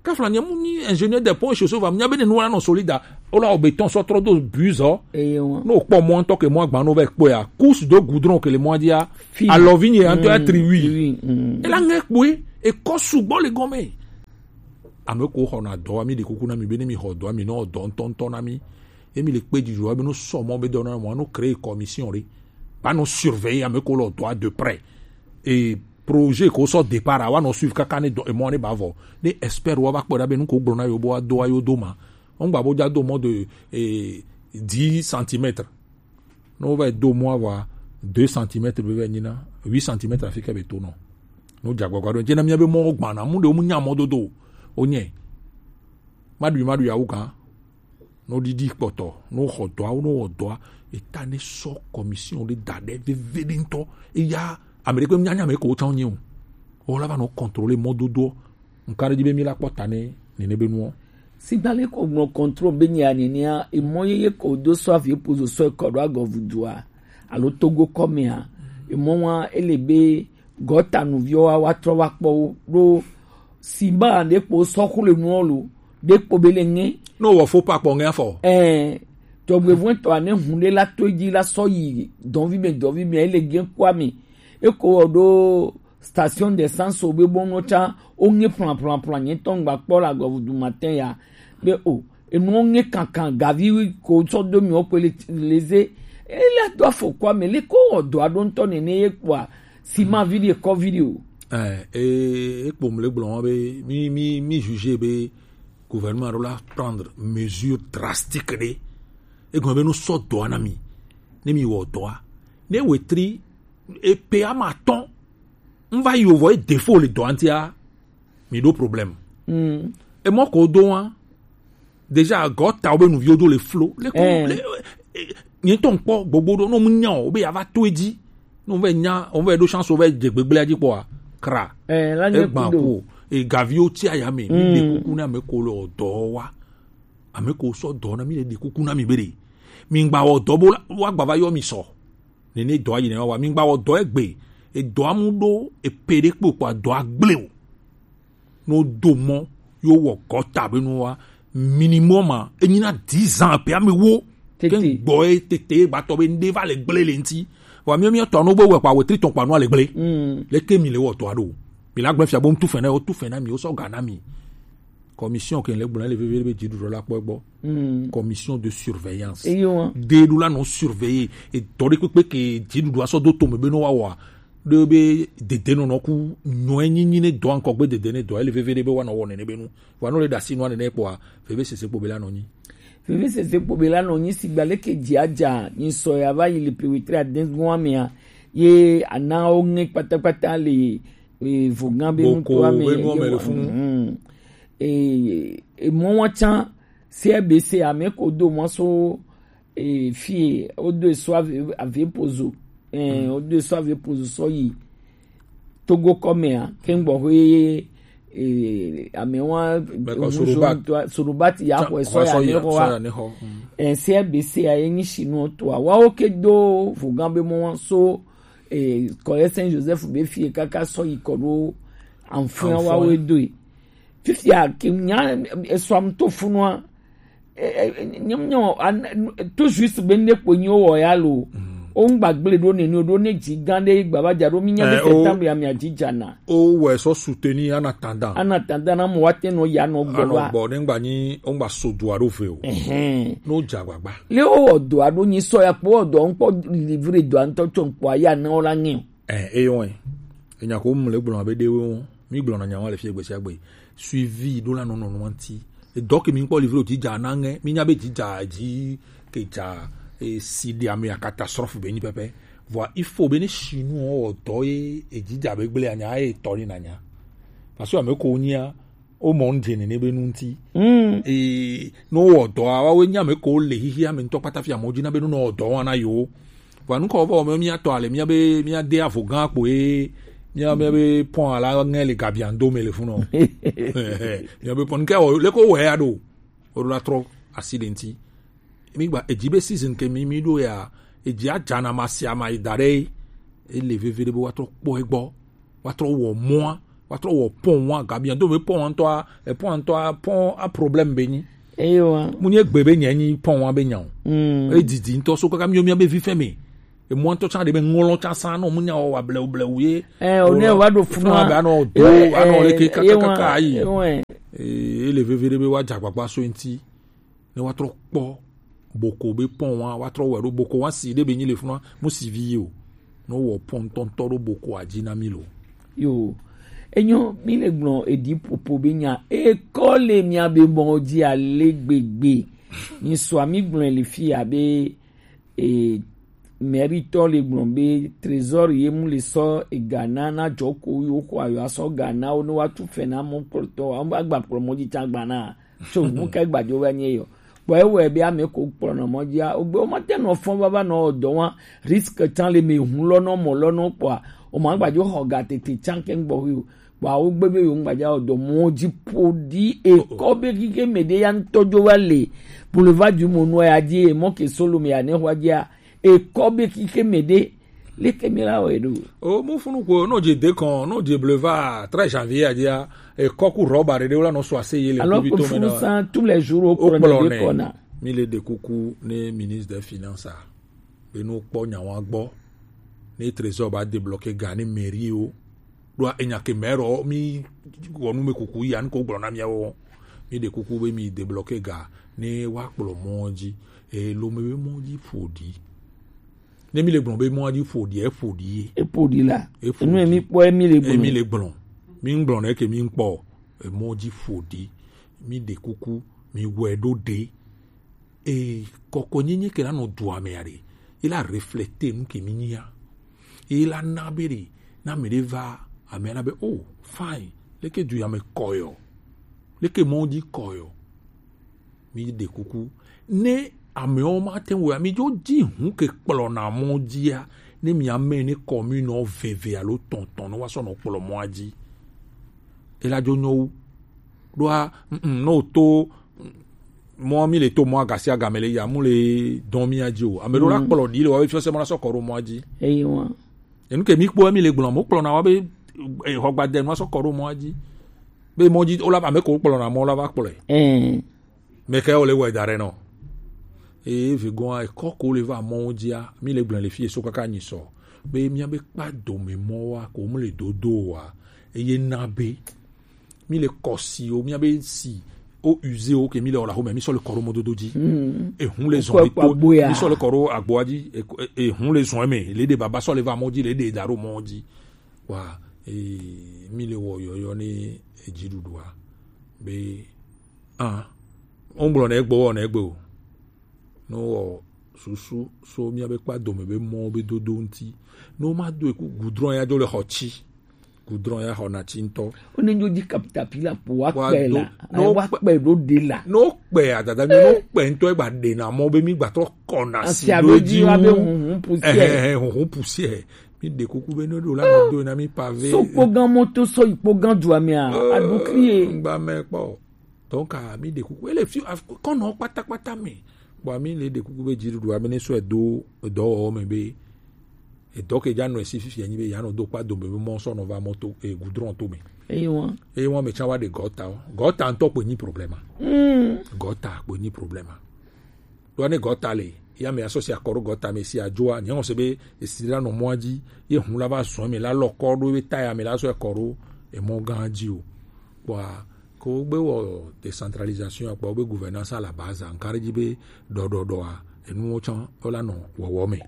Kafla nye mu nyi ingénieur des ponts et chaussées va, nya be ne nua nɔ solide. O la o béton sɔ trɔ do bus ɔ. Eye wọn. No kpɔ mɔ ŋtɔ ke mɔ agba no vɛ kpɔ ya. Couche de goudron ke le mɔ dia. Fi. Alɔ vi nye ŋtɔ ya tri wi. Tri wi, mm. E la ŋɛ kpɔe, e kɔ sugbɔ le gɔme. Ame ko xɔ na dɔ wa, mi ɖe kuku na mi be ne mi xɔ dɔ wa, mi nɔ dɔ ŋtɔŋtɔ na mi. Emi le kpe dzidzɔ wa be no sɔ mɔ be dɔ na mɔ, no créer commission ɖe. Ba no surveiller ame ko le dɔ wa de près. Et projet ko sɔ départ a, wa nɔ suivre kaka ne dɔ, emɔ ne ba vɔ. Ne expert wa va kpɔ ɖa be nu ko gblɔ na yo bo wa do wa yo do ma. Ŋgba bo dza do mɔ de, eh, dix centimètres. Ne wo va do mɔ wa deux centimètres be va nyi na, huit centimètres afi ke be to nɔ. No dza gbagba ɖo. Dze na mia be mɔ gbana, mu de mu nya mɔ dodo. O nye. Maɖui maɖui awu gã. No ɖiɖi kpɔtɔ, no xɔ dɔa, no wɔ dɔa, eta ne sɔ commission ɖe da ɖe veve ɖe ŋtɔ. Eya, ame ɖe kpe nya nya me ko tsã nye o. O la va nɔ contrôler mɔdodoɔ. Nka ɖe dzi be mi la kpɔ ta ne nene be nuɔ. Sigba le ko nɔ contrôle be nya nenea, emɔ yeye ko do sɔ avi pozo sɔ kɔ ɖo agɔ vudua, alo Togo kɔmea, emɔ wa ele be gɔta nuviwo wa, wa trɔ wa kpɔ wo ɖo sima ɖe kpo sɔ xo le nuɔ lo, ɖe kpo be le ŋɛ. No wɔ fo pa kpɔ ŋɛ afɔ. Ɛɛ, tɔgbe vɔn tɔ ane hun ɖe la to dzi la sɔ yi dɔnvi me, dɔnvi me, ele gɛ kua me. Eko wɔ ɖo station d'essence o be bɔ nɔ tsa, o ŋɛ plan, plan, plan, nye tɔ ŋgba kpɔ la gɔ vudu matin ya. Be o, enu ŋɛ kankan, gavi ko sɔ do mi o kpe le, le ze. Ele do afɔ kua me, le ko wɔ dɔ aɖo ŋtɔ nene ye kpɔa, sima vi ɖe kɔ vi ɖe o. Eh, e, e kpom le gblɔ be mi, mi, mi juge be gouvernement ɖo la prendre mesure drastique ɖe. E gɔme be no sɔ dɔa na mi. Ne mi wɔ dɔa. Ne wetri, e pe ama tɔn. N va yi o vɔ e défaut le dɔa ŋtia. Mi ɖo problème. Mm. E mɔ ko do wa. Déjà, gɔtawo be nuviwo do le flo. Le ko, eh, le, eh, nye tɔn kpɔ gbogbo ɖo, no mu nya o, be ya va to edzi. No vɛ nya, o vɛ ɖo chance, o vɛ dze gbegblea dzi kpɔa. Kra. Eh, la nye egba kudo. Ko, e gaviwo tsi aya me, mi ɖe kuku na ame ko le dɔ wa. Ame ko sɔ dɔ na mi le ɖe kuku na mi be ɖe. Mi ŋgba wɔ dɔ bo la, wa gba va yɔ mi sɔ. Nene dɔ ayi ne wa wa. Mi ŋgba wɔ dɔ egbe. E dɔ amu ɖo, e pe ɖe kpo kpɔa dɔ agble o. No do mɔ, yo wɔ gɔta be no wa, minimum a, enyi na dix ans pe ame wo. Tete. Ke gbɔ e tete gbatɔ be nde va le gble le ŋti. Wa mi, mi tɔ no be wɛ kpa wetri tɔn kpa no le gble. Mm. Le ke mi le wɔ tɔ aɖo. Mi la gble fia bo ŋtu fɛn na, o tu fɛn na mi, o sɔ ga na mi. Commission ke le gblɔ le veve be dziɖuɖu la kpɔ gbɔ. Mm. Commission de surveillance. Eyo. De ɖo la nɔ surveiller. E dɔ ɖe kpekpe ke dziɖuɖu asɔ do tome be no wa wa. Ɖe be dedenɔnɔ ku nyɔe nyinyi ne dɔ ŋkɔ gbe dede ne dɔ ele veve ɖe be wa nɔ wɔ nene be nu. Wa nɔ le ɖasi nua nene kpɔa, veve sese kpo be la nɔ nyi. Veve sese kpo be la nɔ nyi sigba leke dzi adza, nyi sɔ ya va yi le pe wetri aden gɔn amea, ye ana wo ŋe kpatakpata le, e, vogan be nutoa me. Boko be nuɔ me le funu. Mm. E, e, mɔ wa tsã, C R B C ame ko do mɔ so, e, fie, o do e so ave, ave pozo. E, o do e so ave pozo sɔ yi. Togo kɔmea, ke ŋgbɔ ho ye, e, ame wa, Beko Sorobati. Sorobati ya xɔ sɔ ya ne xɔ wa. E, C R B C ya ye nyi sinu to a. Wa wo ke do vogan be mɔ wa so, e, kɔye Saint Joseph be fie kaka sɔ yi kɔ ɖo anfin wa we do yi. Fifia ke nya esɔam to funua, e, e, nyem nyo, an-, tout juste be ne kpo nyo wɔ ya lo. Mm. O ŋgba gble ɖo neni o ɖo ne dzi gã ɖe gba va dza ɖo mi nya be septembre ya mia dzi dza na. O wɛ sɔ soutenir en attendant. En attendant na mo wa te nɔ ya nɔ gbɔ wa. Anɔ gbɔ ne ŋgba nyi o ŋgba so do aɖo ve o. Ɛhɛn. N'o dza gbagba. Le o wɔ do aɖo nyi sɔ ya kpɔ wɔ do ŋkpɔ livre do ŋtɔ tsɔ ŋkpɔ ya na o la ŋɛ o. Ɛ eyɔ ɛ. Enya ko mu le gblɔ abe ɖewo mi gblɔ na nya wa le fie gbe sia gbe. Suivi ɖo la nɔnɔ nua ŋti. Edɔ ke mi kpɔ livre o dzi dza na ŋɛ mi nya be dzi dza dzi ke dza e si ɖe ame ya catastrophe be nyi pɛpɛ. Vɔa il faut be ne chinois wɔ dɔ ye edzi dza be gble anya ye tɔ ni na nya. Parce que ame ko nyia o mɔ ŋdze nene be nu ŋti. Ee, ne wowɔ dɔa, woawoe nye ame kewo le xexea me ŋutɔ kpata fia amewo dzi na be ne wowɔ dɔ wa na yewo. Vɔa nu ka wovɔ wɔm mía tɔ ale mía be mía de avo gã kpoe mía mía be pɔn ala ŋɛ le gabiando me le funɔ. Mía be pɔn ke wɔ leko wɔ ya ɖo. Woɖo la trɔ asi ɖe ŋti. Mi gba edzi be season ke mi mi ɖo ya edzi adzana ma sia ma yi da ɖe ele veve ɖe be woatrɔ kpɔ egbɔ. Woatrɔ wɔ mɔa, woatrɔ wɔ pɔn wa, gabiando be pɔn wa ŋutɔa, epɔn wa ŋutɔa, pɔn a problème be nyi. Eyo wa. Mu nye gbe be nye nyi pɔn wa be nya o. Mm. Edidi ŋutɔ so kaka mio mia be vi fɛ me. Emɔa ŋutɔ tsa ɖe be ŋlɔ tsa sa nɔ mu nya wɔ wa blewu blewu ye. Ɛ, o ne wa ɖo funu wa. Be anɔ do, anɔ le ke kaka kaka ayi. Ee, ele veve ɖe be wa dza gbagba so ŋti. Ne woatrɔ kpɔ boko be pɔn wa woatrɔ wɛ ɖo boko wa si ɖe be nyi le funua mu si vi o ne wɔ pɔn tɔntɔ ɖo boko adzi na mi lo. Yo, enyo mi le gblɔ edi popo be nya ekɔ le mia be mɔ dzi ale gbegbe. Mi sɔ mi gblɔ le fi abe e mɛritɔ le gblɔ be trésor ye mu le sɔ ega na na dzɔ ko yo ko ayo asɔ ga na wo ne wa tu fɛ na mɔ kplɔtɔ wa agba kplɔ mɔ dzi tsa gba na. So mu ka gbadzo va nye yɔ. Kpɔ ewɔe be ame ko kplɔ nɔ mɔ dzia, ogbe wo mate nɔ fɔn vava nɔ dɔ wa, risque tsan le me hun lɔ nɔ mɔ lɔ nɔ kpɔa, o ma gbadzo xɔ ga tete tsan ke ŋgbɔ hui o. Kpɔa wo gbe be yo ŋgbadza o dɔ mɔ dzi po di e kɔ be kike me de ya ŋtɔ dzo va le. Boulevard du Monoir ya dzi e mɔ ke solo me ya ne xɔ dzia, ekɔ be kike me ɖe leke mi la wɔe ɖo. O mo funu ko no je de kon no je bleva très janvier adia e kɔ ku roba de la no so ase ye le alors que funu san tous les jours o kplɔ ne de kɔna. Mi le de kuku ne ministre des finances a be no kpɔ nya wa gbɔ ne trésor ba débloquer ga ne mairie o. Ɖoa enya ke mɛ ɖɔ mi wɔ nu me kuku ya nu ko gblɔ na miawo mi ɖe kuku be mi débloquer ga ne wa kplɔ mɔ dzi e lo me be mɔ dzi ƒo ɖi ne mi le gblɔ be mɔ dzi ƒo ɖi e ƒo ɖi ye e ƒo ɖi la e ƒo enu mi kpɔ e mi le gblɔ e mi le gblɔ mi ŋgblɔ ne ke mi ŋkpɔ e mɔ dzi ƒo ɖi mi ɖe kuku mi wɛ ɖo ɖe e kɔkɔ nyenye ke la nɔ dua me ya ɖe e la refléter nu ke mi nyia e la na be ɖe na me ɖe va ame la be oh fine leke du ya me kɔyɔ leke mɔ dzi kɔyɔ mi ɖe kuku ne amewo ma te ŋu mi dzo dzi hu ke kplɔ na mɔ dzia ne mi ame ne commune veve alo tɔntɔn ne wa sɔ nɔ kplɔ mɔa dzi e la dzo nyɔ wu ɖoa mm, no to mɔ mi le to mɔ agasi agame le ya mu le dɔn mi adzi o ame ɖo la kplɔ ɖi le wa be fiɔsɛ mɔ la sɔ kɔ ɖo mɔa dzi eyi wa enu ke mi kpɔ mi le gblɔ mo kplɔ na wa be xɔgbadenu asɔ kɔ ɖo mɔa dzi be mɔ dzi o la ame ko kplɔ na mɔ la va kplɔe ɛɛ mɛ kɛ o le wɔ da ɖe nɔ eye vi gɔn ekɔ ko le va mɔ dzia mi le gblɔ le fi so kaka nyi sɔ be mi be kpa dome mɔ wa ko mu le dodo wa eye na be mi le kɔ si o mi be si o use o ke mi le ɔla xome mi sɔ le kɔ ɖo mɔdodo dzi ehun le zɔn mi kpo mi sɔ le kɔ ɖo agboa dzi ehun le zɔn me le de baba sɔ le va mɔ dzi le de da ɖo mɔ dzi wa ee mi le wɔ yɔyɔ ne edziɖuɖua be ah wogblɔ na egbe wɔ na egbe o ne wowɔ susu so míabe kpa dome be mɔwo be dodo ŋuti ne woma do eku gudrɔn ya dzo le xɔ tsi gudrɔn ya xɔ na tsi ŋutɔ. Wone dzo dzi kapitapila po wa kpɛ la wa kpɛ ɖo de la. Ne wokpɛ adada mi ne wokpɛ ŋutɔ egba ɖena mɔ be mi gbatrɔ kɔna si ɖo edzi wu huhun pusiɛ mi ɖe kuku be ne ɖo la mi do na mi pave. So kpogã moto sɔ yi kpogã dua mea aɖukli ye. Ŋgba mɛ kpɔ. Donc mi ɖe kuku ele fi kɔnɔ kpatakpata me. Bon mi le ɖe kuku be dziɖuɖu ame ne sɔ edo edɔwɔwɔ me be edɔ ke dza nɔ esi fifia nyi be ya nɔ do kpa dome be mɔ sɔ nɔ va mɔto e gudrɔn to me. Eye wa. Eye wa me tsa wa ɖe gɔta o gɔta ŋutɔ kpe nyi problema. Mm. Gɔta kpe nyi problema. Ɖo ne gɔta le Ya me asɔ si akɔ ɖo gɔta me si ajoa, nye ŋɔ se be esi la nɔ mɔa ji, ye hun la va zɔn me la lɔ kɔ ɖo be ta ya me la sɔ kɔ ɖo emɔ gã ji o. Kpɔa, ko gbe wɔ décentralisation, kpɔ be gouvernance à la base, nka ɖe ji be ɖɔɖɔɖɔa, enuwo tsã wo la nɔ wɔwɔ me.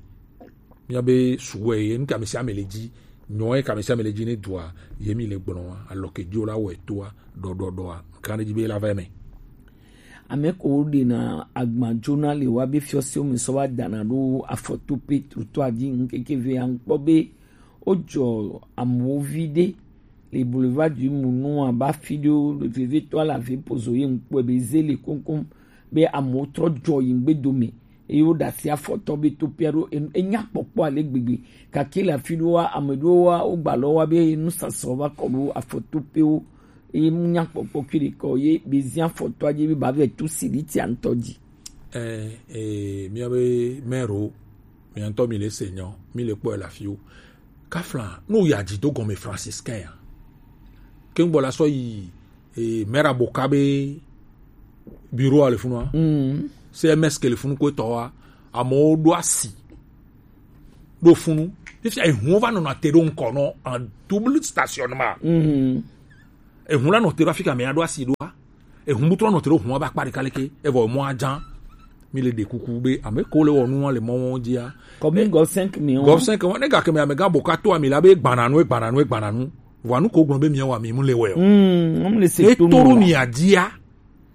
Mía be suwɛ ye nu kame sia me le ji, nyɔ ye kame sia me le ji ne dua, ye mi le gblɔ wa, alɔ ke jo la wɔ etoa, ɖɔɖɔɖɔa, nka ɖe ji be la va me. Ame ko ɖena agba jona le wa be fiɔsewo me sɔ va dana ɖo afɔtope trottoir dzi ŋkeke ve ankpɔ be wojɔ amewo vi ɖe le boulevard du Mounou aba fi ɖewo le vevetɔ la ve pozo ye ŋkpɔe be ze le koŋkoŋ be amewo trɔ jɔ yi ŋgbe dome eye woɖe asi afɔtɔ be topia ɖo en- enya kpɔkpɔ ale gbegbe gake le afi ɖewoa ame ɖewoa wogba lɔ wa be nusasrɔ va kɔ ɖo afɔtopewo eye mu nya kpɔkpɔ kui ɖe kɔ ye be zia afɔtɔa dzi be ba vɛ tu silitia ŋutɔ dzi. Eh, eh, mía be mɛro, mía ŋutɔ mi le se nyɔ, mi le kpɔe le afiwo. Kafla, no ya dzi do gɔme franciscain ya. Ke ŋgbɔ la sɔ yi, eh, mɛra boka be bureau a le funua. Mm. C M S ke le funu ko etɔ wa, amewo ɖo asi. Ɖo funu. Fifia ehun va nɔna te ɖo ŋkɔ nɔ en double stationnement. Mm. Ehun la nɔ te ɖo afika me aɖo asi ɖoa. Ehun butrɔ nɔ te ɖo hun aba kpa ɖeka leke. Evɔ mɔ adza. Mi le ɖe kuku be ame ko le wɔ nua le mɔ wɔn dzia. Commune gɔf cinq mi wɔn. Gɔf cinq wɔn ne gake me amegã boka to ami la be gbananu gbananu gbananu. Vɔa nu ko gblɔ be mi wa mi mu le wɛ o. Mm, mu le se to mi adzia.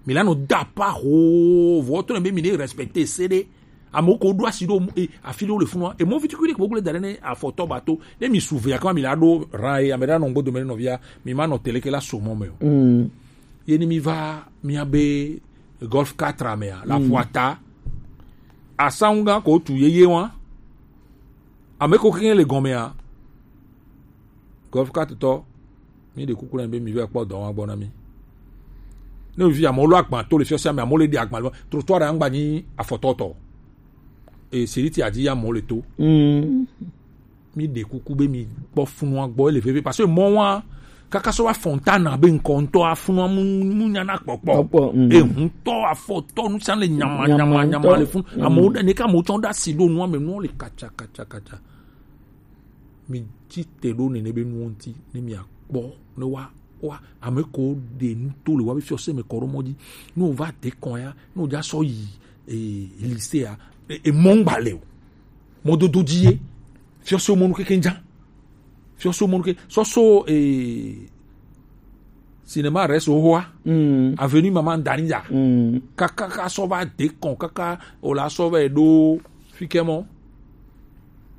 Mi la nɔ da pa ho vɔ to ne be mi ne respecter se ɖe. Amewo ko ɖo asi ɖo e afi ɖewo le funua emɔ vitukui ɖe kpokple da ɖe ne afɔtɔ ba to ne mi su vea kama mi la ɖo ran ye ame ɖe anɔ ŋgbo dome ne nɔvia mi ma nɔ tele ke la so mɔ me o. Mm. Ye ni mi va mia be golf quatre mea la ƒua ta asangu gã ko tu yeye wa ame ko keke le gɔmea. Golf quatre tɔ, mi ɖe kuku na mi be mi va kpɔ dɔ wa gbɔ na mi. Ne vi amewo lɔ agba to le fiɔsia me amewo le ɖe agba le trottoir ɖe angba nyi afɔtɔtɔ. E siriti adi ya amewo le to. Mm. Mi ɖe kuku be mi kpɔ funua gbɔ ele veve parce que mɔ wa kaka sɔ wa Fontana be ŋkɔ ŋutɔ afunua mu mu nyana kpɔkpɔ. Kpɔkpɔ, mm. Ehuntɔ afɔtɔ nusian le nyama nyama nyama le fun. Mm. Amewo ɖe ne ka amewo tsɔ ɖe asi ɖo nua me nua le katsa katsa katsa. Mi tsi te ɖo nene be nuwo ŋuti ne mia kpɔ ne wa wa ame ko ɖe nu to le wa be fiɔse me kɔ ɖo mɔ dzi ne wo va de kɔn ya ne wo dza sɔ yi e lycée ya e mɔ ŋgba le o mɔdodo dzi ye fiɔse mɔnu keke dza fiɔse mɔnu ke sɔsɔ e cinéma reste au roi. Mm. Avenue Maman Danja. Mm. Kaka ka sɔ va de kɔn kaka o la sɔ va ɖo fikɛ mɔ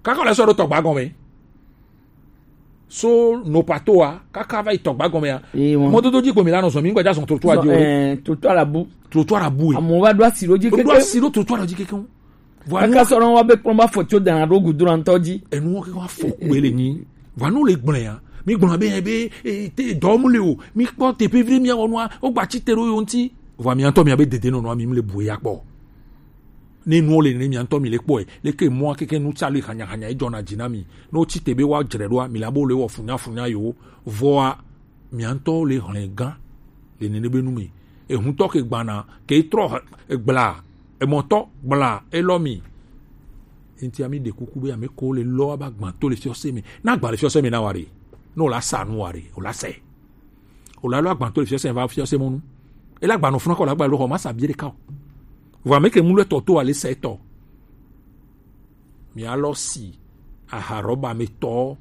kaka o la sɔ ɖo tɔgba gɔme so no pato wa kaka va yi tɔgba gɔme ya. Mɔdodo dzi gbomi la nɔ zɔn mi ŋgbɛ dza zɔn trottoir dzi o. Trottoir la bu. Trottoir la bu. Amewo va ɖo asi ɖo dzi keke. Ɖo asi ɖo trottoir dzi keke. Kaka sɔrɔ wa be kplɔn ba fɔ tso dana ɖo gudura ŋutɔ dzi. Enu wo keke wa fɔ ku ele nyi. Vanu le gblẽ ya. Mi gblɔ be be e, te dɔm le o. Mi kpɔ teƒe vi mi awɔ nua. O gba tsi te ɖo yo ŋuti. Vɔ mi ŋutɔ mi abe dede nɔnɔ mi le bu ya kpɔ. Ne nuwo le ne mi ŋutɔ mi le kpɔe. Leke mɔa keke nu tsa le hanya hanya edzɔna dzi na mi. Ne wotsi te be woadzre ɖoa mi la bo le wɔ funya funya yo. Vɔa mi ŋutɔ le hlẽ gã le nene be nu me. Ehuntɔ ke gbana ke trɔ gbla emɔtɔ gbla elɔ mi. Enti ami ɖe kuku be ame ko le lɔ aba gbã to le fiɔse me. Na gba le fiɔse me na wa ɖe. Ne wòla sa nu wa ɖe, wòla sɛ. Wòla lɔ agbã to le fiɔse me va fiɔse mɔnu. Ele agba nɔ funa kɔ le agba lɔ xɔ ma sa bie ɖeka o. Vɔ ame ke mu lɔ etɔ to ale sɛ etɔ. Mialɔ si aha rɔba me tɔ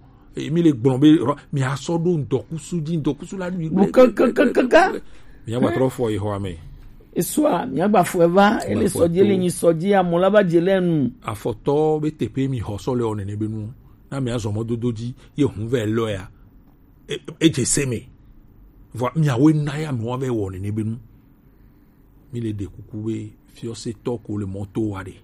mi le gblɔ be mi asɔ ɖo ŋdɔkusu dzi ŋdɔkusu la ɖui. Kankankankan. Miagba trɔ fɔ yi xɔa me. Esua miagba fɔ eva ele sɔdzi ele nyi sɔdzi amɔ la va dze le nu. Afɔtɔ be teƒe mi xɔ sɔ le ɔ nene be nu na mi azɔ mɔdodo dzi ye hun vɛ lɔ ya. Edze se me. Vɔ miawoe na ya miwa vɛ wɔ nene be nu. Mi le ɖe kuku be fiɔsetɔ ko le mɔ to wa ɖe.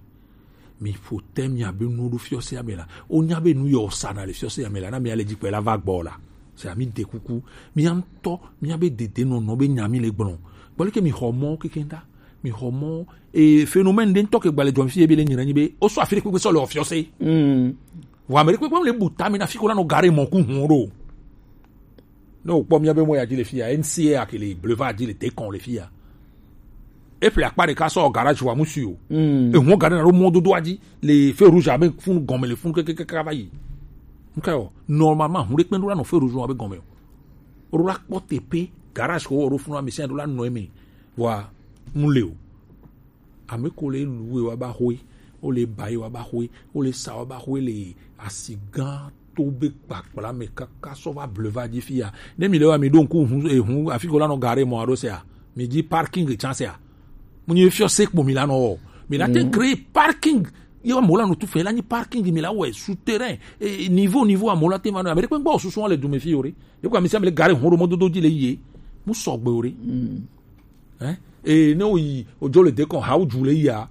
Mi ƒo te miabe nuwo ɖo fiɔsea me la. Wonya be nu yɔ sana le fiɔsea me la. Na mi ale dzi kpe la va gbɔ la. Se ami ɖe kuku. Mia ŋutɔ miabe dede nɔnɔ be nya mi le gblɔ. Gbɔ leke mi xɔ mɔ keke da. Mi xɔ mɔ e phénomène ɖe ŋutɔ ke gba le dzɔ fi ebe le nyina nyi be. Wo sɔ afi ɖe kpekpe sɔ le fiɔse. Mm. Vɔ ame ɖe kpekpe le bu ta mi na fi ko la nɔ gare mɔ ku hun ɖo. Ne wòkpɔ míabe mɔ ya dzi le fi ya, N C A ake le Boulevard dzi le Dekɔn le fi ya. E ple akpa ɖeka sɔ garage wa mu si o. Mm. E hɔn gare na ɖo mɔdodoa dzi le feu rouge abe funu gɔme le funu kekekeke va yi. Nke o, normalement, hun ɖe kpe ɖo la nɔ feu rouge wa be gɔme o. Ɖo la kpɔ teƒe, garage ko wɔ ɖo funu ame sia ɖo la nɔ eme. Vɔa, mu le o. Ame ko le lu wa ba hoe, o le ba wa ba hoe, o le sa wa ba hoe le asi gã to be kpakpla me kaka sɔ va bleva dzi fia. Ne mi le wa mi ɖo ŋku hu, eh, hu, afi ko la nɔ gare mɔ aɖo sea, mi dzi parking chance a. Mu nyi fiɔ se kpo mi la nɔ wɔ. Mi la te créer parking. Ye wa mo la nɔ tu fɛ la nyi parking mi la wɔ souterrain. Eh, niveau, niveau a mo la te ma nɔ. Ame ɖe kpe gbɔ susu le du me fi o re. Ye ko ame sia ame le gare hɔn ɖo mɔdodo dzi le yi ye. Mu sɔgbe o re. Hein? E ne o yi o jo le de kon ha o ju le ya.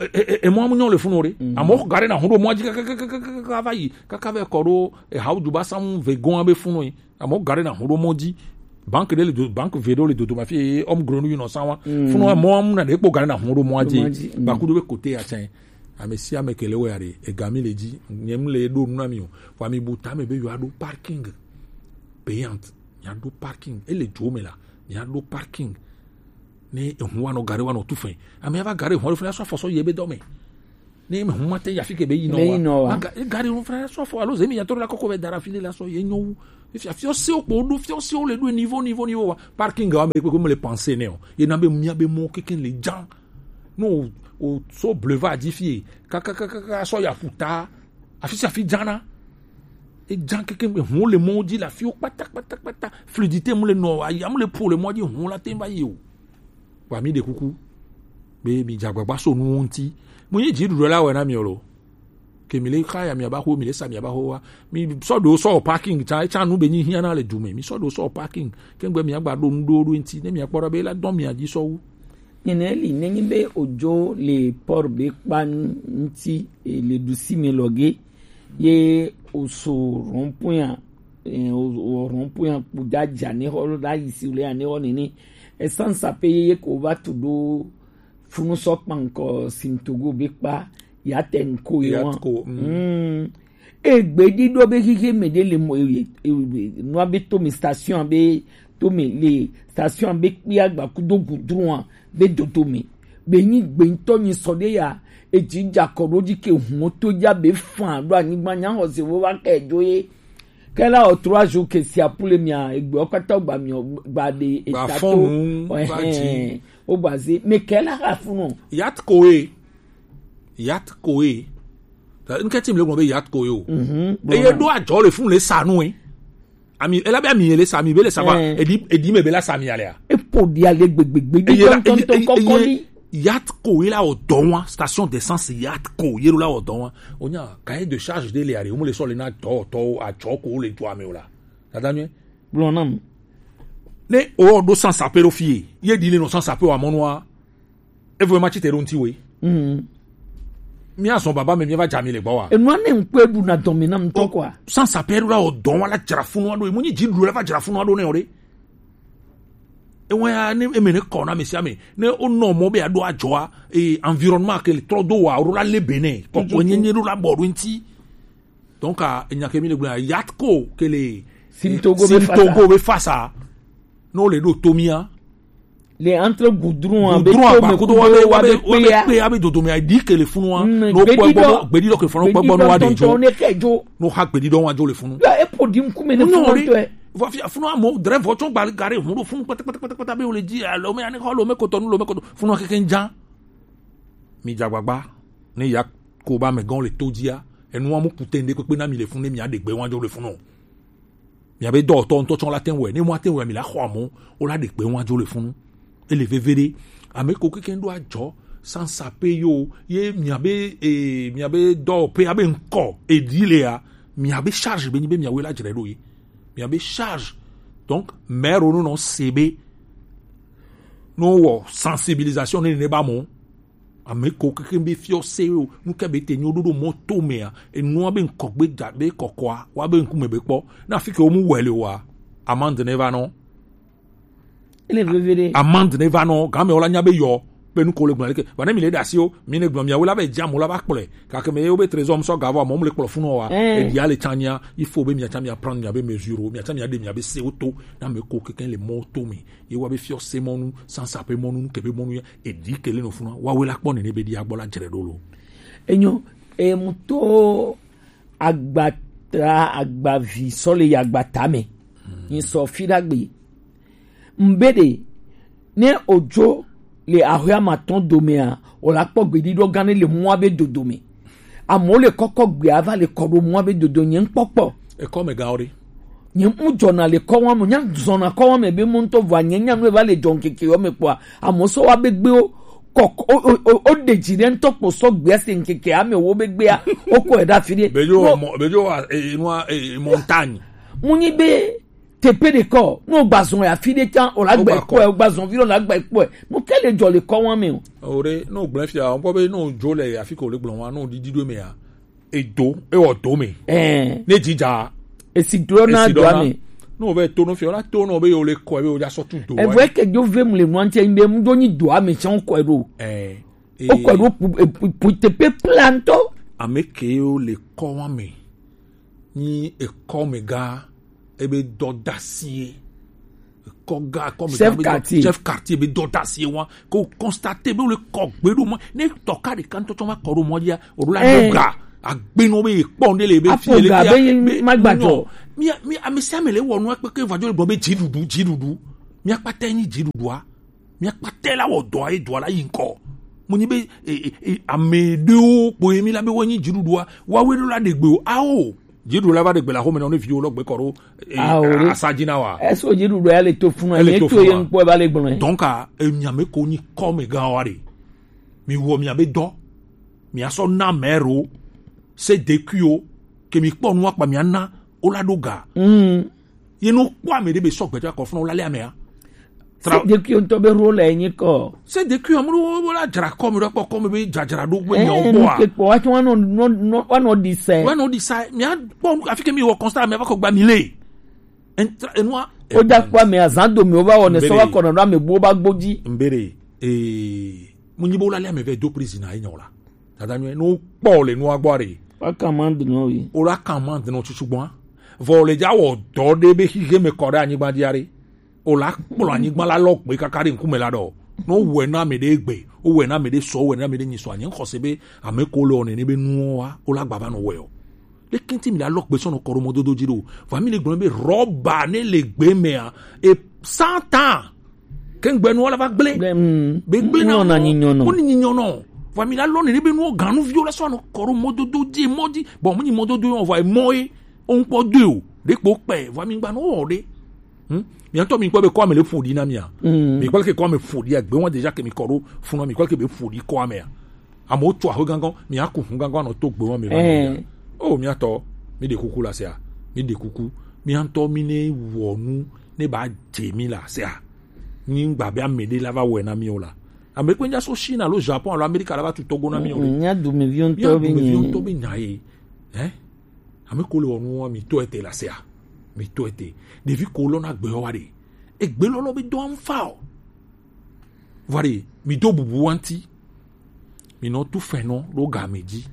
E, e, e, e mo amu nyɔ le funu o re. Amo gare na hɔn ɖo mɔ dzi kaka kaka kaka va yi kaka ve kɔ ɖo e ha o ju ba samu ve gon abe funu yi. Amo gare na hɔn ɖo mɔ dzi. Banque de le do, banque ve ɖo le dodo ma fi e homme gros nu yi nɔ san wa. Funu amo amu na ɖe kpo gare na hɔn ɖo mɔ dzi. Ba ku ɖo be côté ya tsɛ. Ame sia ame ke le wɔ ya ɖe e ga mi le dzi. Nye mu le ɖo nu na mi o. Wa mi bu ta me be yo aɖo parking payant. Miaɖo parking. Ele dzo me la, miaɖo parking. Ne ehu wa nɔ gare wa nɔ tu fɛ. Ame ava gare ehu wa ɖo fɛ la sɔ afɔ sɔ yi ebe dɔ me. Ne ehu ma te yi afi ke be yi nɔ Ne wa. Yi nɔ wa. Ma ga-, e gare ehu fɛ la sɔ afɔ alo zemi ya tɔ la kɔkɔ be dara fi le la sɔ ye nyo wu. Efi afi ose o kpo ɖo fi ose o le ɖo niveau, niveau, niveau wa. Parking wa me kpekpe me le panse ne o. Ye na be mia be mo keke le jan. No o so bleva dzi fie. Kaka kaka kaka sɔ ya puta. Afi sia afi dzana. Edza keke, ehuwo le mɔwo dzi le afiwo kpata, kpata, kpata. Fluidité mu le nɔ, aya mu le po le mɔ dzi, ehuwo la te va yi o. Wa mi ɖe kuku be mi dze agbagba so nuwo ŋuti. Mu nyi dziɖuɖu la wɔ na mi o lo. Ke mi le xa ya mi aba xo, mi le sa mi aba xo wa. Mi sɔ ɖo sɔ parking tsa, etsa nu be nyi hiã na le du me. Mi sɔ ɖo sɔ parking. Ke ŋgbe mi agba ɖo nu ɖo ɖo ŋuti. Ne mi akpɔ ɖa be la dɔn mi adzi sɔ wu. Nene li nenyi be odzo le port be kpa ŋuti, eh, le ɖusi me lɔ ge, ye oso rond-point a, eh, o, o rond-point a kpo da dza ne xɔ la yi si le ane xɔ nene. Essence a pe ye ko va tu ɖo funu sɔ kpankɔ Sintogo be kpa ya te ŋko ye wa. Yatko, mm. Mm. Egbe ɖiɖɔ be xixi me ɖe le mɔ, e, e, e, nua be to me station be to me le station be kpia gba kudo gudrua be dodo me. Be nyi gbe ŋutɔ nyi sɔ ɖe ya, edzi dza kɔ ɖo dzi ke hun to dza be fan ɖo anyigba nya xɔ se wo va ke dzo ye. Ke la o trois jours ke sia pule mia, egbe o kata gba mi o gba de Gba eta fɔn to. Nu, va dzi. Ɛhɛn. O gba ze. Me ke la ha funu. Yatko e. Yatko e. Ta, nke ti mi le gblɔ be Yatko e o. Mhm. Eye ɖo adzɔ le fun le sa nu e. Ami, ela be ami le sa mi, be le sa ba. Eh. Edi, edi me be la sa mi alea. Epo di ale gbegbegbe di Eye la, tɔntɔntɔ eye, eye, kɔkɔ eye, di. Yatko e la o dɔn wa, station d'essence Yatko e la o dɔn wa. Onya, cahier de charge de le are, o mo le sɔ le na dɔ, tɔ, adzɔ ko le dua me o la. Dada nyuie. Gblɔ nam. Ne o ɖo sans appel ɖo fie, ye di le no sans appel wa mɔnua. Evo ma tsi te ɖo ŋti we. Mm. Mi azɔ baba me mi va dza mi le gbɔ wa. Enua ne ŋkpɛ ɖu na dɔme na ŋtɔ kɔa. Sans appel ɖo la o dɔn wa la dzra funu aɖo. Mo nyi dzi ɖu la va dzra funu aɖo ne o ɖe. Ewe ya ne eme ne kɔ na me sia me. Ne o nɔ mɔ be aɖo adzɔa, e environnement ke le trɔ do wa o ɖo la le bene. Kɔkɔ nye nye ɖo la bɔ ɖo ŋti. Donc, a, enya ke mi le gblɔ, Yatko ke le Sim Togo be Sim fasa. Togo be fasa. No le ɖo to mia. Le entre goudron a be Goudron to me abakudo kudo wa be, wa wa be, be wa be kpea. Kpea be dodo me a di ke le funu wa. Mm, no gbedi kpɔ gbɔ dɔ. Gbedi dɔ ke funu kpɔ gbɔ no wa de jo. Gbedi dɔ tɔntɔn ne ke jo. No ha gbedi dɔ wa jo le funu. Ya epo di ŋkume ne funu tɔ. Vɔ fi funu amo dre vɔ tsɔ gba gare hun ɖo funu kpata kpata kpata kpata be o le dzi alo me ane xɔ lo me kotɔ nu lo me kotɔ funu keke ŋdza. Mi dza gbagba ne ya ko ba me gɔn le to dzia. Enua mu kute ŋɖe kpekpe na mi le funu ne mi aɖe gbe wa jo le funu. Miabe dɔwɔtɔ ŋutɔ tsɔ la te wɛ, ne mɔ ate wɛ mi la xɔ amɔ, o la ɖe kpe wa dzo le funu. Ele veve ɖe. Ame ko keke ɖo adzɔ, sansa pe yo, ye miabe, eh, miabe dɔwɔƒe abe ŋkɔ, edi lea, miabe charge be nyi be miawoe la dzre ɖo ye. Miabe charge. Donc, maire no nɔ se be, no wɔ sensibilisation ne ne ba mɔ. Ame ko keke be fiɔ se o, nu ke be te nyo ɖoɖo mɔ to mea, enua be ŋkɔ gbe da be kɔkɔa, wa be ŋkume be kpɔ. Na fi ke wo mu wɛ le wa, amande ne va nɔ. Ele veve ɖe. Amande ne va nɔ, game wala nya be yɔ. Be nu ko le gblɔ leke. Vane mi le ɖe asi o, mi le gblɔ mia wo la be dza mo la va kplɔe. Kake me ye wo be trésor sɔ gavɔ mo le kplɔ funu wa. Eh. E dia le tsanya, il faut be mia tsa mia prendre mia be mesure, mia tsa mia de mia be se o to, na me ko keke le mɔ to mi. Ye wa be fiɔ se mɔnu, sansa pe mɔnu, ke be mɔnu ya, e di ke le no funu. Wa we la kpɔ ne ne be di agbɔ la jere do lo. Enyo, e mu to agbata agbavi sɔ le yi agbata me. Nyi sɔ fi ɖagbe. Mbe ɖe, ne odzo le ahɔe amatɔn domea, o la kpɔ gbeɖiɖɔ gã ɖe le mɔa be dodo me. Amewo le kɔkɔ gbea va le kɔ ɖo mɔa be dodo nye ŋkpɔkpɔ. Ekɔ me gawo ɖe. Nye ŋu dzɔna le kɔwa me, nya zɔna kɔwa me be mo ŋutɔ vɔa nye nya nu va le dzɔ ŋkeke yɔ me kpɔa, amewo sɔ wa be gbewo kɔ o o o o ɖe dzi ɖe ŋutɔ kpɔ sɔ gbea se ŋkeke ame wo be gbea, o kɔ e ɖe afi ɖe. Bejo mo bejo e nua e montagne. Mo nyi be teƒe ɖe kɔ, no gba zɔn ya fi ɖe tsa, o la gba kpɔe, o gba zɔn vi ɖe o la gba kpɔe. No ke le dzɔ le kɔwa me o. O ɖe, no gblẽ fia, o kpɔ be no dzo le afi ko le gblɔ wa, no didi ɖo me ya. Edo, ewɔ do me. Ɛɛ. Ne dzidza. Esi do na do ame. Ne o vɛ to no fiɔ la to no be o le kɔ be o dza sɔ tu do. Evɔ eke dzo ve mu le nua ŋtsɛ be mu do nyi do ame tsɛ o kɔe ɖo. Ɛɛ. O kɔe ɖo pu pu pu teƒe plantɔ. Ame ke o le kɔ wa me. Nyi ekɔ me ga ebe dɔ dasie. Kɔga kɔmi chef quartier, chef quartier be dɔ ta si wa ko constater be le kɔ gbe do mo ne tɔ ka de kan to to ma kɔ do mo dia o la do ga agbe no be kpɔ ne le be fi le ga be ma gba jɔ mi mi ami se mi le wo no pe ke va jo le be jidudu jidudu mi akpata ni jidudu a mi akpata la wo do ayi do la yi nko mo ni be ame de o po mi la be wo ni jidudu a wa we do la de gbe o a o Jeɖuɖu la va ɖe gbe le axome nɔ ne viwo lɔ gbe kɔ ɖo eh, Ao, ɖe. Asa dzi na wa. Eso jeɖuɖu ya le to funu Ele ye to to funu ye wa. Ŋkpɔ va le gblɔ ye. Donc a enya me ko nyi kɔ me gã wa ɖe. Mi wɔ mia be dɔ. Mia sɔ na mɛ ro. Se de kui o. Ke mi kpɔ nu akpa mia na. O la ɖo ga. Mm. Ye no kpɔ ame ɖe be sɔ gbɛtɔ akɔ funu o la le amea. Tra- Se de kui ŋutɔ be role enye kɔ. Se de kui amu ɖo wo la dzra kɔ mi ɖo kpɔ kɔ mi be dzadzra ɖo gbe Eh, nyawo nu kpɔa. Ke kpɔ wa tso wa nɔ nɔ nɔ wa nɔ di sɛ. Wa nɔ di sa mia kpɔ nu afi ke mi wɔ constat mia va kɔ gba mi le. Entra enua. O da kpɔ ame azan do mi o va wɔ ne sɔ wa kɔ na ɖo ame bu o ba gbɔ dzi. Mbere ee mu nyi bo la le ame vɛ do prison na enyawo la. Dada nyuie, ne wokpɔ le nua gbɔ ɖe. Woaka amande nɔ wi. Wole aka amande nɔ tutu gbɔa. Vɔ le dza wɔ dɔ ɖe be xixe me kɔ ɖe anyigba dzi aɖe. Wole akplɔ anyigba la lɔ gbe kaka ɖe ŋkume la ɖɔ. Ne wowɔe na ame ɖe gbe, wowɔe na ame ɖe sɔ, wowɔe na ame ɖe nyi sɔ, anyi xɔse be ame ko le wɔ nene be nuwo wa, wole agbava nɔ wɔe o. Leke ŋuti mi le alɔ gbe sɔ nɔ kɔ ɖo mɔdodo dzi ɖo? Va mi le gblɔ be rɔba ne le gbe mea, e satan. Ke ŋgbe nua la va gblẽ. Gblẽ, mm. Be gblẽ na Nɔ na wo. Nyi nyɔnɔ. Wo ni nyi nyɔnɔ. Vɔ mi la lɔ nene be nuwo ganu viwo la sɔ anɔ kɔ ɖo mɔdodo dzi mɔ dzi. Bon, mu nyi mɔdodo yɔ vɔ emɔ ye. O ŋkpɔ do o. Ɖe kpo kpɛ. Vɔ mi gba no wɔ ɖe. Hmm? Mi ŋutɔ mi kpɔ be kɔ ame le ƒo ɖi na mia. Mm. Mi kpɔ ke kɔ ame ƒo ɖi agbe wa déjà ke mi kɔ ɖo funu mi kpɔ ke be ƒo ɖi kɔ amea. Amewo tso aƒe gãgã, mi aku hu gãgã nɔ to gbe wa mi va. Eh. O mia tɔ, mi ɖe kuku la sea. Mi ɖe kuku. Mi ŋutɔ mi ne wɔ nu ne ba dze mi la sea. Ni ŋgba be ame ɖe la va wɔe na mi o la. Ame kpe nya so Chine alo Japon alo Amerika la va tu togo na mi o. Mm, mía dumeviwo ŋutɔ be nya ye. Eh? Ame ko le wɔ nu wa mi to ete la sea. Mi to ete. Ɖevi ko lɔ na gbe wa ɖe. Egbe lɔlɔ be dɔ anfa o. Vɔ ɖe, mi do bubu wa ŋuti. Mi nɔ tu fɛn nɔ ɖo game dzi.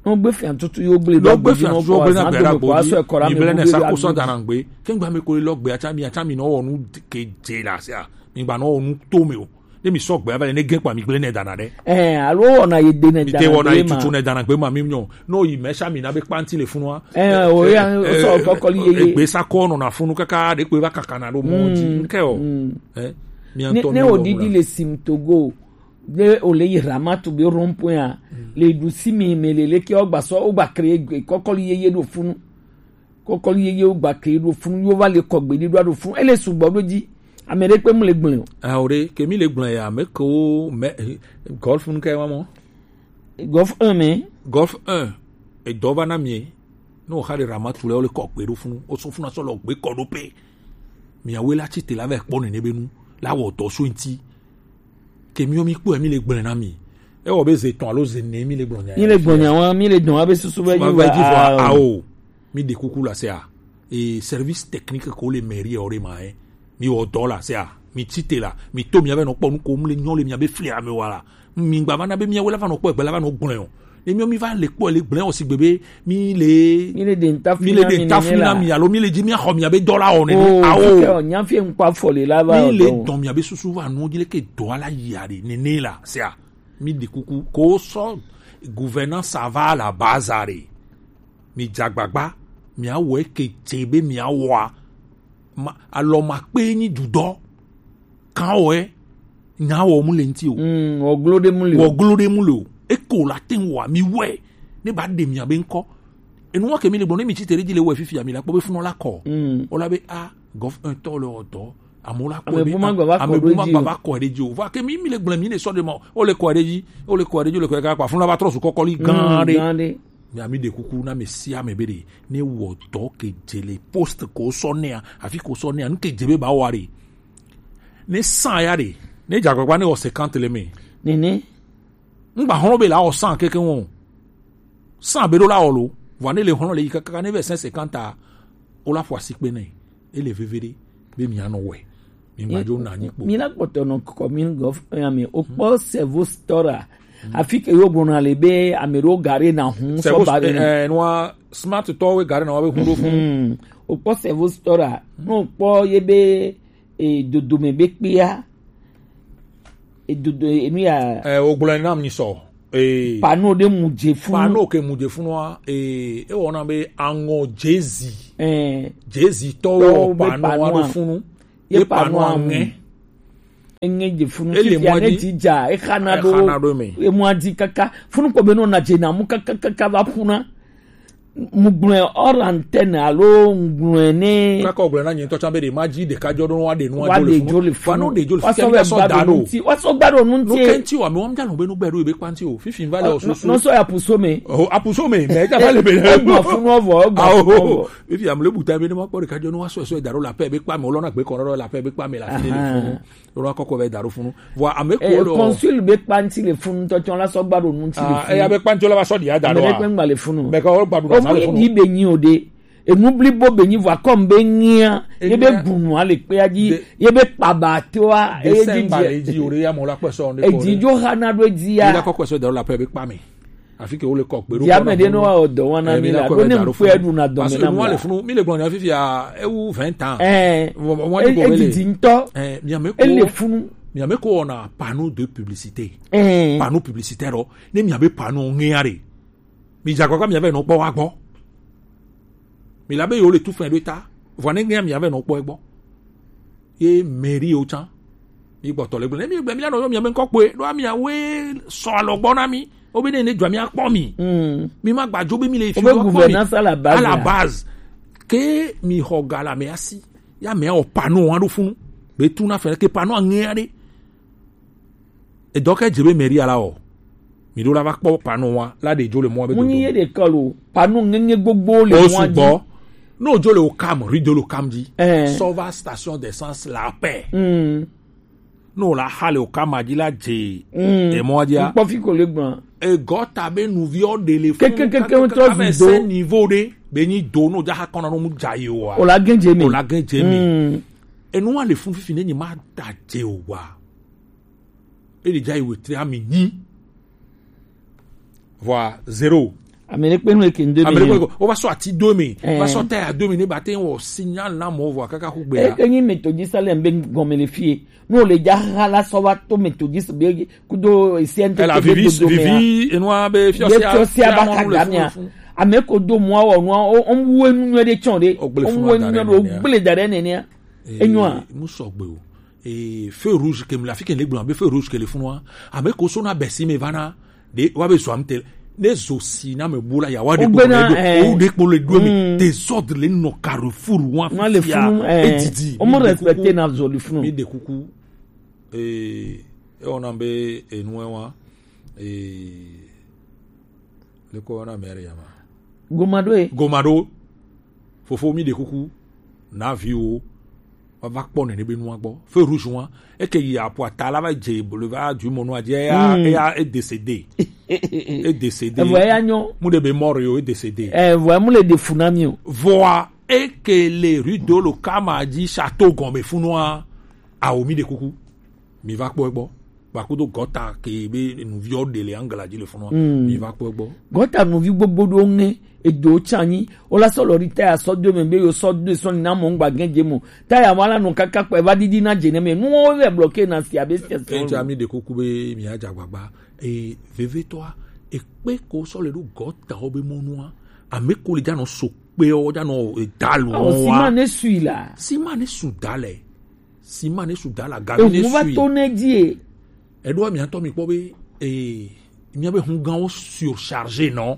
Nɔ gbe fɛn tutu yo gble. Nɔ gbe fɛn tutu yo gble na gbe ɖa gbo dzi. Mi gble ne sa ko sɔ dana gbe. Kengba mi ko lɔ gbe atsa mi atsa mi nɔ wɔ nu ke dze la sea. Mi gba nɔ wɔ nu to me o. Ne mi sɔ gbe ava le ne gɛ kpa mi gble ne dana ɖe. Ɛɛ, alo wɔna ye de ne dana gbe ma. Mi te wɔna ye tutu ne dana gbe ma mi nyɔ. N'o yi mɛ sa mi na be kpanti le funua. Ɛɛ, o ya sɔ kɔkɔli ye ye. Egbe sa kɔ nɔ na funu kaka ɖe kpe va kaka na ɖo mɔ dzi. Nkɛ o. Ɛ, mi antɔ mi wɔ. Ne o didi le sim togo. Ɖe o le yi Ramatu be rond-point a, le ɖusi mi me le leke o gba sɔ o gba kre kɔkɔli yeye ɖo funu. Kɔkɔli yeye o gba kre ɖo funu yo va le kɔgbe ɖi ɖo ɖo funu. Ele sugbɔ ɖo dzi. Ame ɖe kpe mu le gblẽ o. Ah, o ɖe ke mi le gblẽ ya me ko me golf nu ke wa mo. Golf un me. Golf un. E dɔ va na mi. No xa ɖe Ramatu le o le kɔgbe ɖo funu. O sɔ funu sɔ le gbe kɔ ɖo pe. Miawoe la tsi te la va kpɔ nene be nu la wɔ dɔ so ŋuti. Ke miwo mi kpɔe mi le gblẽ na mi. Ewɔ be ze tɔn alo ze ne mi le gblɔ nya. Mi le gblɔ nya wa, mi le dɔn abe susu be va dzi vɔ. Ao. Mi ɖe kuku la sea. E service technique ko le mairie o ɖe ma e. Mi wɔ dɔ la sea. Mi tite la, mi to mia be nɔ kpɔ nu ko mu le nyɔ le mia be fli ame wa la. Mi gba va na be mia we la va nɔ kpɔ egbe la va nɔ gblẽ o. Ne mia mi va le kpɔ le gblẽ o si gbe be mi le mi le de nta mi le de nta fina mi alo mi le dzi mia xɔ mia be dɔ la o nene. Oh, awo. Fike o nya fie nkpa fɔ le la va mi le dɔn mia be susu va nu dzi le ke dɔ ala yi a de nene la. Sia. Mi de kuku ko sɔ gouvernance ava la bazare. Mi dzagbagba, mia wɔ ke dze be mia wɔa. Ma, alɔ ma kpe nyi dudɔ. Kan wɔ nya wɔ mu le nti o. Mm, wɔ glo de mu le o. Wɔ glo de mu le o. Eko la ten wa mi wɛ. Ne ba de mia be nkɔ. Enu wa ke mi le gbɔ ne mi tsi tere dzi le wɛ fifi ami la kpɔ be funɔ la kɔ. Mm. O la be a gɔf un tɔ le ɔdɔ. Amewo la kɔ ame bu ma gba va kɔ ɖe dzi o. Va ke mi mi le gblẽ mi ne sɔ de ma o le kɔ ɖe dzi o le kɔ ɖe dzi o le kɔ ɖe dzi akpa funu la va trɔ su kɔkɔli gã ɖe. Gã ɖe. Mi ami de kuku na mi si ame be de ne wɔ dɔ ke dze le poste ko sɔ nea afi ko sɔ nea nu ke dze be ba wa ɖe. Ne san ya ɖe ne dza gbagba ne wɔ cinquante le me. Nene. Ŋgba xlɔ̃ be la wɔ san keke wɔn o. San be ɖo la wɔ lo. Vɔ ne le xlɔ̃ le yi kaka ne vɛ cinquante ta o la ƒo asi kpe nɛ. Ele veve ɖe be mia nɔ wɛ. Mi gba dzo na nyi kpo. Mi la kpɔtɔ nɔ kɔmi gɔf ya mi o kpɔ sevo stora. Afi ke yo gbɔna le be ame ɖo gare na hun sɔ ba be ne. Eh, nua smart tɔ we gare na wa be hun ɖo fun. Hmm. O kpɔ sevo stora. No kpɔ ye be e dodome be kpea. E dodo enu ya. Eh, o gblɔ nam ni sɔ. Eh, pano de mu dze funu. Pano ke mu dze funua. Eh, e wɔna be aŋɔ jezi. Eh, jezi tɔwo pano wa ɖo funu. Ye pano aŋɛ. Eŋɛ dze funu. Ele fifia ne dzi dza e xana ɖo. E xana ɖo me. E mu adi kaka funu kɔ be no na dze na mu kaka kaka va ƒuna. Mu gblɔe hors antenne alo ŋgblɔe ne. Kaka gblɔe na nyitɔ tsa be de ma dzi ɖeka dzɔ ɖo wa de nua wa de dzo le funu. Wa no de dzo le funu. Wa sɔ gba ɖo nu ti. Wa sɔ gba ɖo nu ti. No kenti wa me wa mja no be no gbe ɖo be kpanti o. Fifi va le o susu. No sɔ ya puso me. O apuso me me ja va le be. E gba funu vɔ, e gba funu vɔ. Fifi am le buta be ne ma kpɔ ɖeka dzɔ no wa sɔ sɔ da ɖo la paix be kpa me o lɔ na gbe kɔ ɖo la paix be kpa me la fi le funu. Ro akɔkɔ be da ɖo funu. Vɔ ame ko eh, lo. Consul be kpanti le funu tɔ tsɔ la sɔ gba ɖo nu ti le funu. Ah, e ya be kpanti la va sɔ di ada ɖo. Ame ɖe kpe ŋgba le funu. Be ka wo gba ɖo na le funu. Omu yi be nyi o de. Enu blibo be nyi vɔ akɔm be nyia. Ye be bunu ale kpe adzi. Ye be kpaba toa. Ye dzi dzi o de ya mo la kpe sɔ ne ko. Edzi dzo ha na ɖo edzi ya. Ye la kɔkɔ sɔ da ɖo la pe be kpa me. Afi ke wo le kɔ kpe ɖo. Diame ɖe no wa o dɔ wana mi la. Ɖo ne ŋkpe ɖu na dɔ me na mi la. Parce que nua le funu, mi le gblɔ nya fifi a, ewu vingt ans. Eh. Edidi ŋutɔ. Eh, miame ko. Ele funu. Miame ko wɔna panneau de publicité. Eh. Panneau publicitaire ɖo. Ne miabe panneau ŋea ɖe. Mi dza kɔkɔ miave nɔ kpɔ wa gbɔ. Mi la be yo le tu fin de ta. Vɔ ne ŋea miave nɔ kpɔ egbɔ. Ye mairie wo tsã. Mi gbɔtɔ le gblɔ. Ne mi gbe mi la nɔ yɔ mia be ŋkɔ kpoe. Ɖo amia we sɔ alɔ gbɔ na mi. Wo be ne ne dzɔ mi akpɔ mi. Mm. Mi ma gba dzo be mi le fi wo akpɔ mi. Gouvernance à la base. À la base. Ke mi xɔ ga la me asi. Ya me o panneau wa ɖo funu. Be tu na fɛ ke panneau aŋea ɖe. Edɔ ke dze be mairie la o. Mi ɖo la va kpɔ panneau wa la ɖe dzo le mɔ be dodo. Mu nyi ye ɖe ke lo. Panneau ŋeŋe gbogbo le mɔ dzi. O sugbɔ. No dzo le o kam, rue de lo kam dzi. Eh. Sɔ va station d'essence la paix. Mm. No la xa le o kam dzi la dze. Mm. E mɔ dzi a. Kpɔ fi ko le gbɔn. E gɔta be nuvi o de le fun. Kekekeke ŋutɔ zu do. Niveau ɖe. Be nyi do no dza xa kɔnɔ no mu dza yi o wa. O la gɛn dze mi. O la gɛn dze mi. Mm. Enu wa le fun fifi ne nyi ma da dze o wa. Eri dza yi wetri ami nyi. Vɔa zéro. Ame ɖe kpe nu eke ŋdo mi. Ame ɖe kpe nu. O va sɔ ati do mi. Eh. Va sɔ taya do mi ne ba te wɔ signal na mɔ vɔa kaka ku gbe ya. Eke nyi metodzi salem be gɔme le fie. No le dza ha la sɔ va to metodzi be kudo C N T. Ela vivi vivi enua be fiɔsia. Fiɔsia ba ka gamia. Ame ko do mɔ wɔ nua o wu enu nyuie ɖe tsɔ ɖe. O wu enu nyuie ɖe o gble da ɖe nenea. Enyoa. Mu sɔgbe o. Ee, feu rouge ke mi le afi ke le gblɔ be feu rouge ke le funua. Ame ko so na bɛsi me va na. De wa be zɔ am te. Ne zo si na me bu la ya wa de ko le do. O de ko le do mi. Désordre le nɔ carrefour wa fi le funu. Edidi. O mo respecter na zo le funu. Mi de kuku. Ee, e ona be enu wa. Ee, le ko na mere ya ma. Gomado e. Gomado. Fofo mi de kuku. Na vi o. Wa va kpɔ nene be nua gbɔ. Feu rouge wa. Eke yi apo ata la va dze boulevard du Mono adzi eya, eya e décédé. E décédé. Evo eya nyo. Mu de be mort yo e décédé. Evo mu le de funami o. Voa eke le rue de lo kama dzi château gɔme funua. Awo mi ɖe kuku. Mi va kpɔ egbɔ. Gbakudo gɔta ke be nuviɔ ɖe le angla dzi le funua. Mm. Mi va kpɔ egbɔ. Gɔta nuvi gbogbo ɖo ŋe edo tsanyi. Wola sɔ lɔ ɖi taya sɔ do me be yo sɔ do sɔ na mɔ ŋgba gɛ dze mo. Taya wala nɔ kaka kpɛ va didi na dze ne me. Nuwo le bloqué na si abe si. Eja mi ɖe kuku be mi adza gbagba. E vevetɔa ekpe ko sɔ le ɖo gɔta wo be mɔnua. Ame ko le dza nɔ so kpe wo dza nɔ e dalu. Oh, wa. Sima ne sui la. Sima ne su dalɛ. Sima ne su dala gavi ne sui. Ehun va to ne die. Eɖo mia tɔ mi kpɔ be ee mia be hun gan wo surchargé nɔ.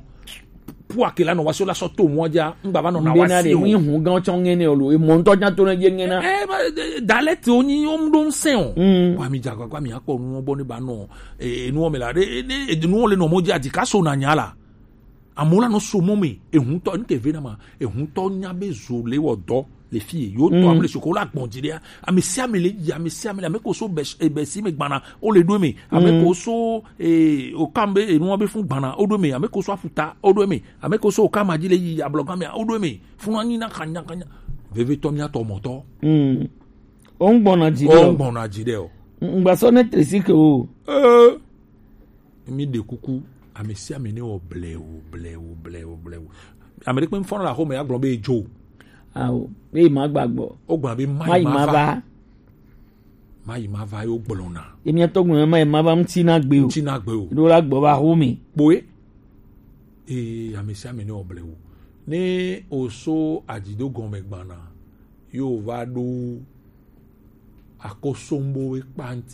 Pour akela nɔ wa so la sɔ to mɔ dza ngba va nɔ na wa si o. Mbe na de mi hun gan tsɔ ŋɛ ne o lo. E mɔ ŋutɔ dza to ne die ŋɛ na. Eh, ba, de- dalɛ te o nyi o mu ɖo ŋsɛ o. Mm. Wa mi dza gbagba mi akpɔ nuwo bɔ ne ba nɔ eh nuwo me la de de nuwo le nɔ mɔ dzi adi ka so na nya la. Amewo la nɔ so mɔ me, ehuntɔ, nu ke ve na ma, ehuntɔ nya be zo le wɔ dɔ le fi ye. Yo tɔ ame le soko la gbɔn dzi ɖea. Ame sia ame le yi, ame sia ame le, ame ko so bɛ bɛ si me gbana, o le ɖo me. Ame ko so eh o kam be enuwa be fun gbana, o ɖo me. Ame ko so afuta, o ɖo me. Ame ko so o kam adzi le yi ablɔgan me, o ɖo me. Fun anyi na kanya kanya. Vevetɔ mia tɔ mɔtɔ. Mm. O ŋgbɔna dzi ɖe o. O ŋgbɔna dzi ɖe o. Ŋgbasɔ ne tresi ke o. Eh. Mi ɖe kuku, ame sia ame ne wɔ blewu, blewu, blewu, blewu. Ame ɖe kpe ŋfɔna le axome agblɔ be edzo. Awo, be ma gba gbɔ. O gblɔ be ma yi ma va. Ma yi ma va yo gblɔna. Emi atɔ gblɔ ma yi ma va ŋuti na gbe o. Ŋuti na gbe o. Ɖo la gbɔ va axome. Kpoe. Ee, ame sia ame ne wɔ blewu. Ne o so adzido gɔme gbana, yo va ɖo akosombo we kpanti.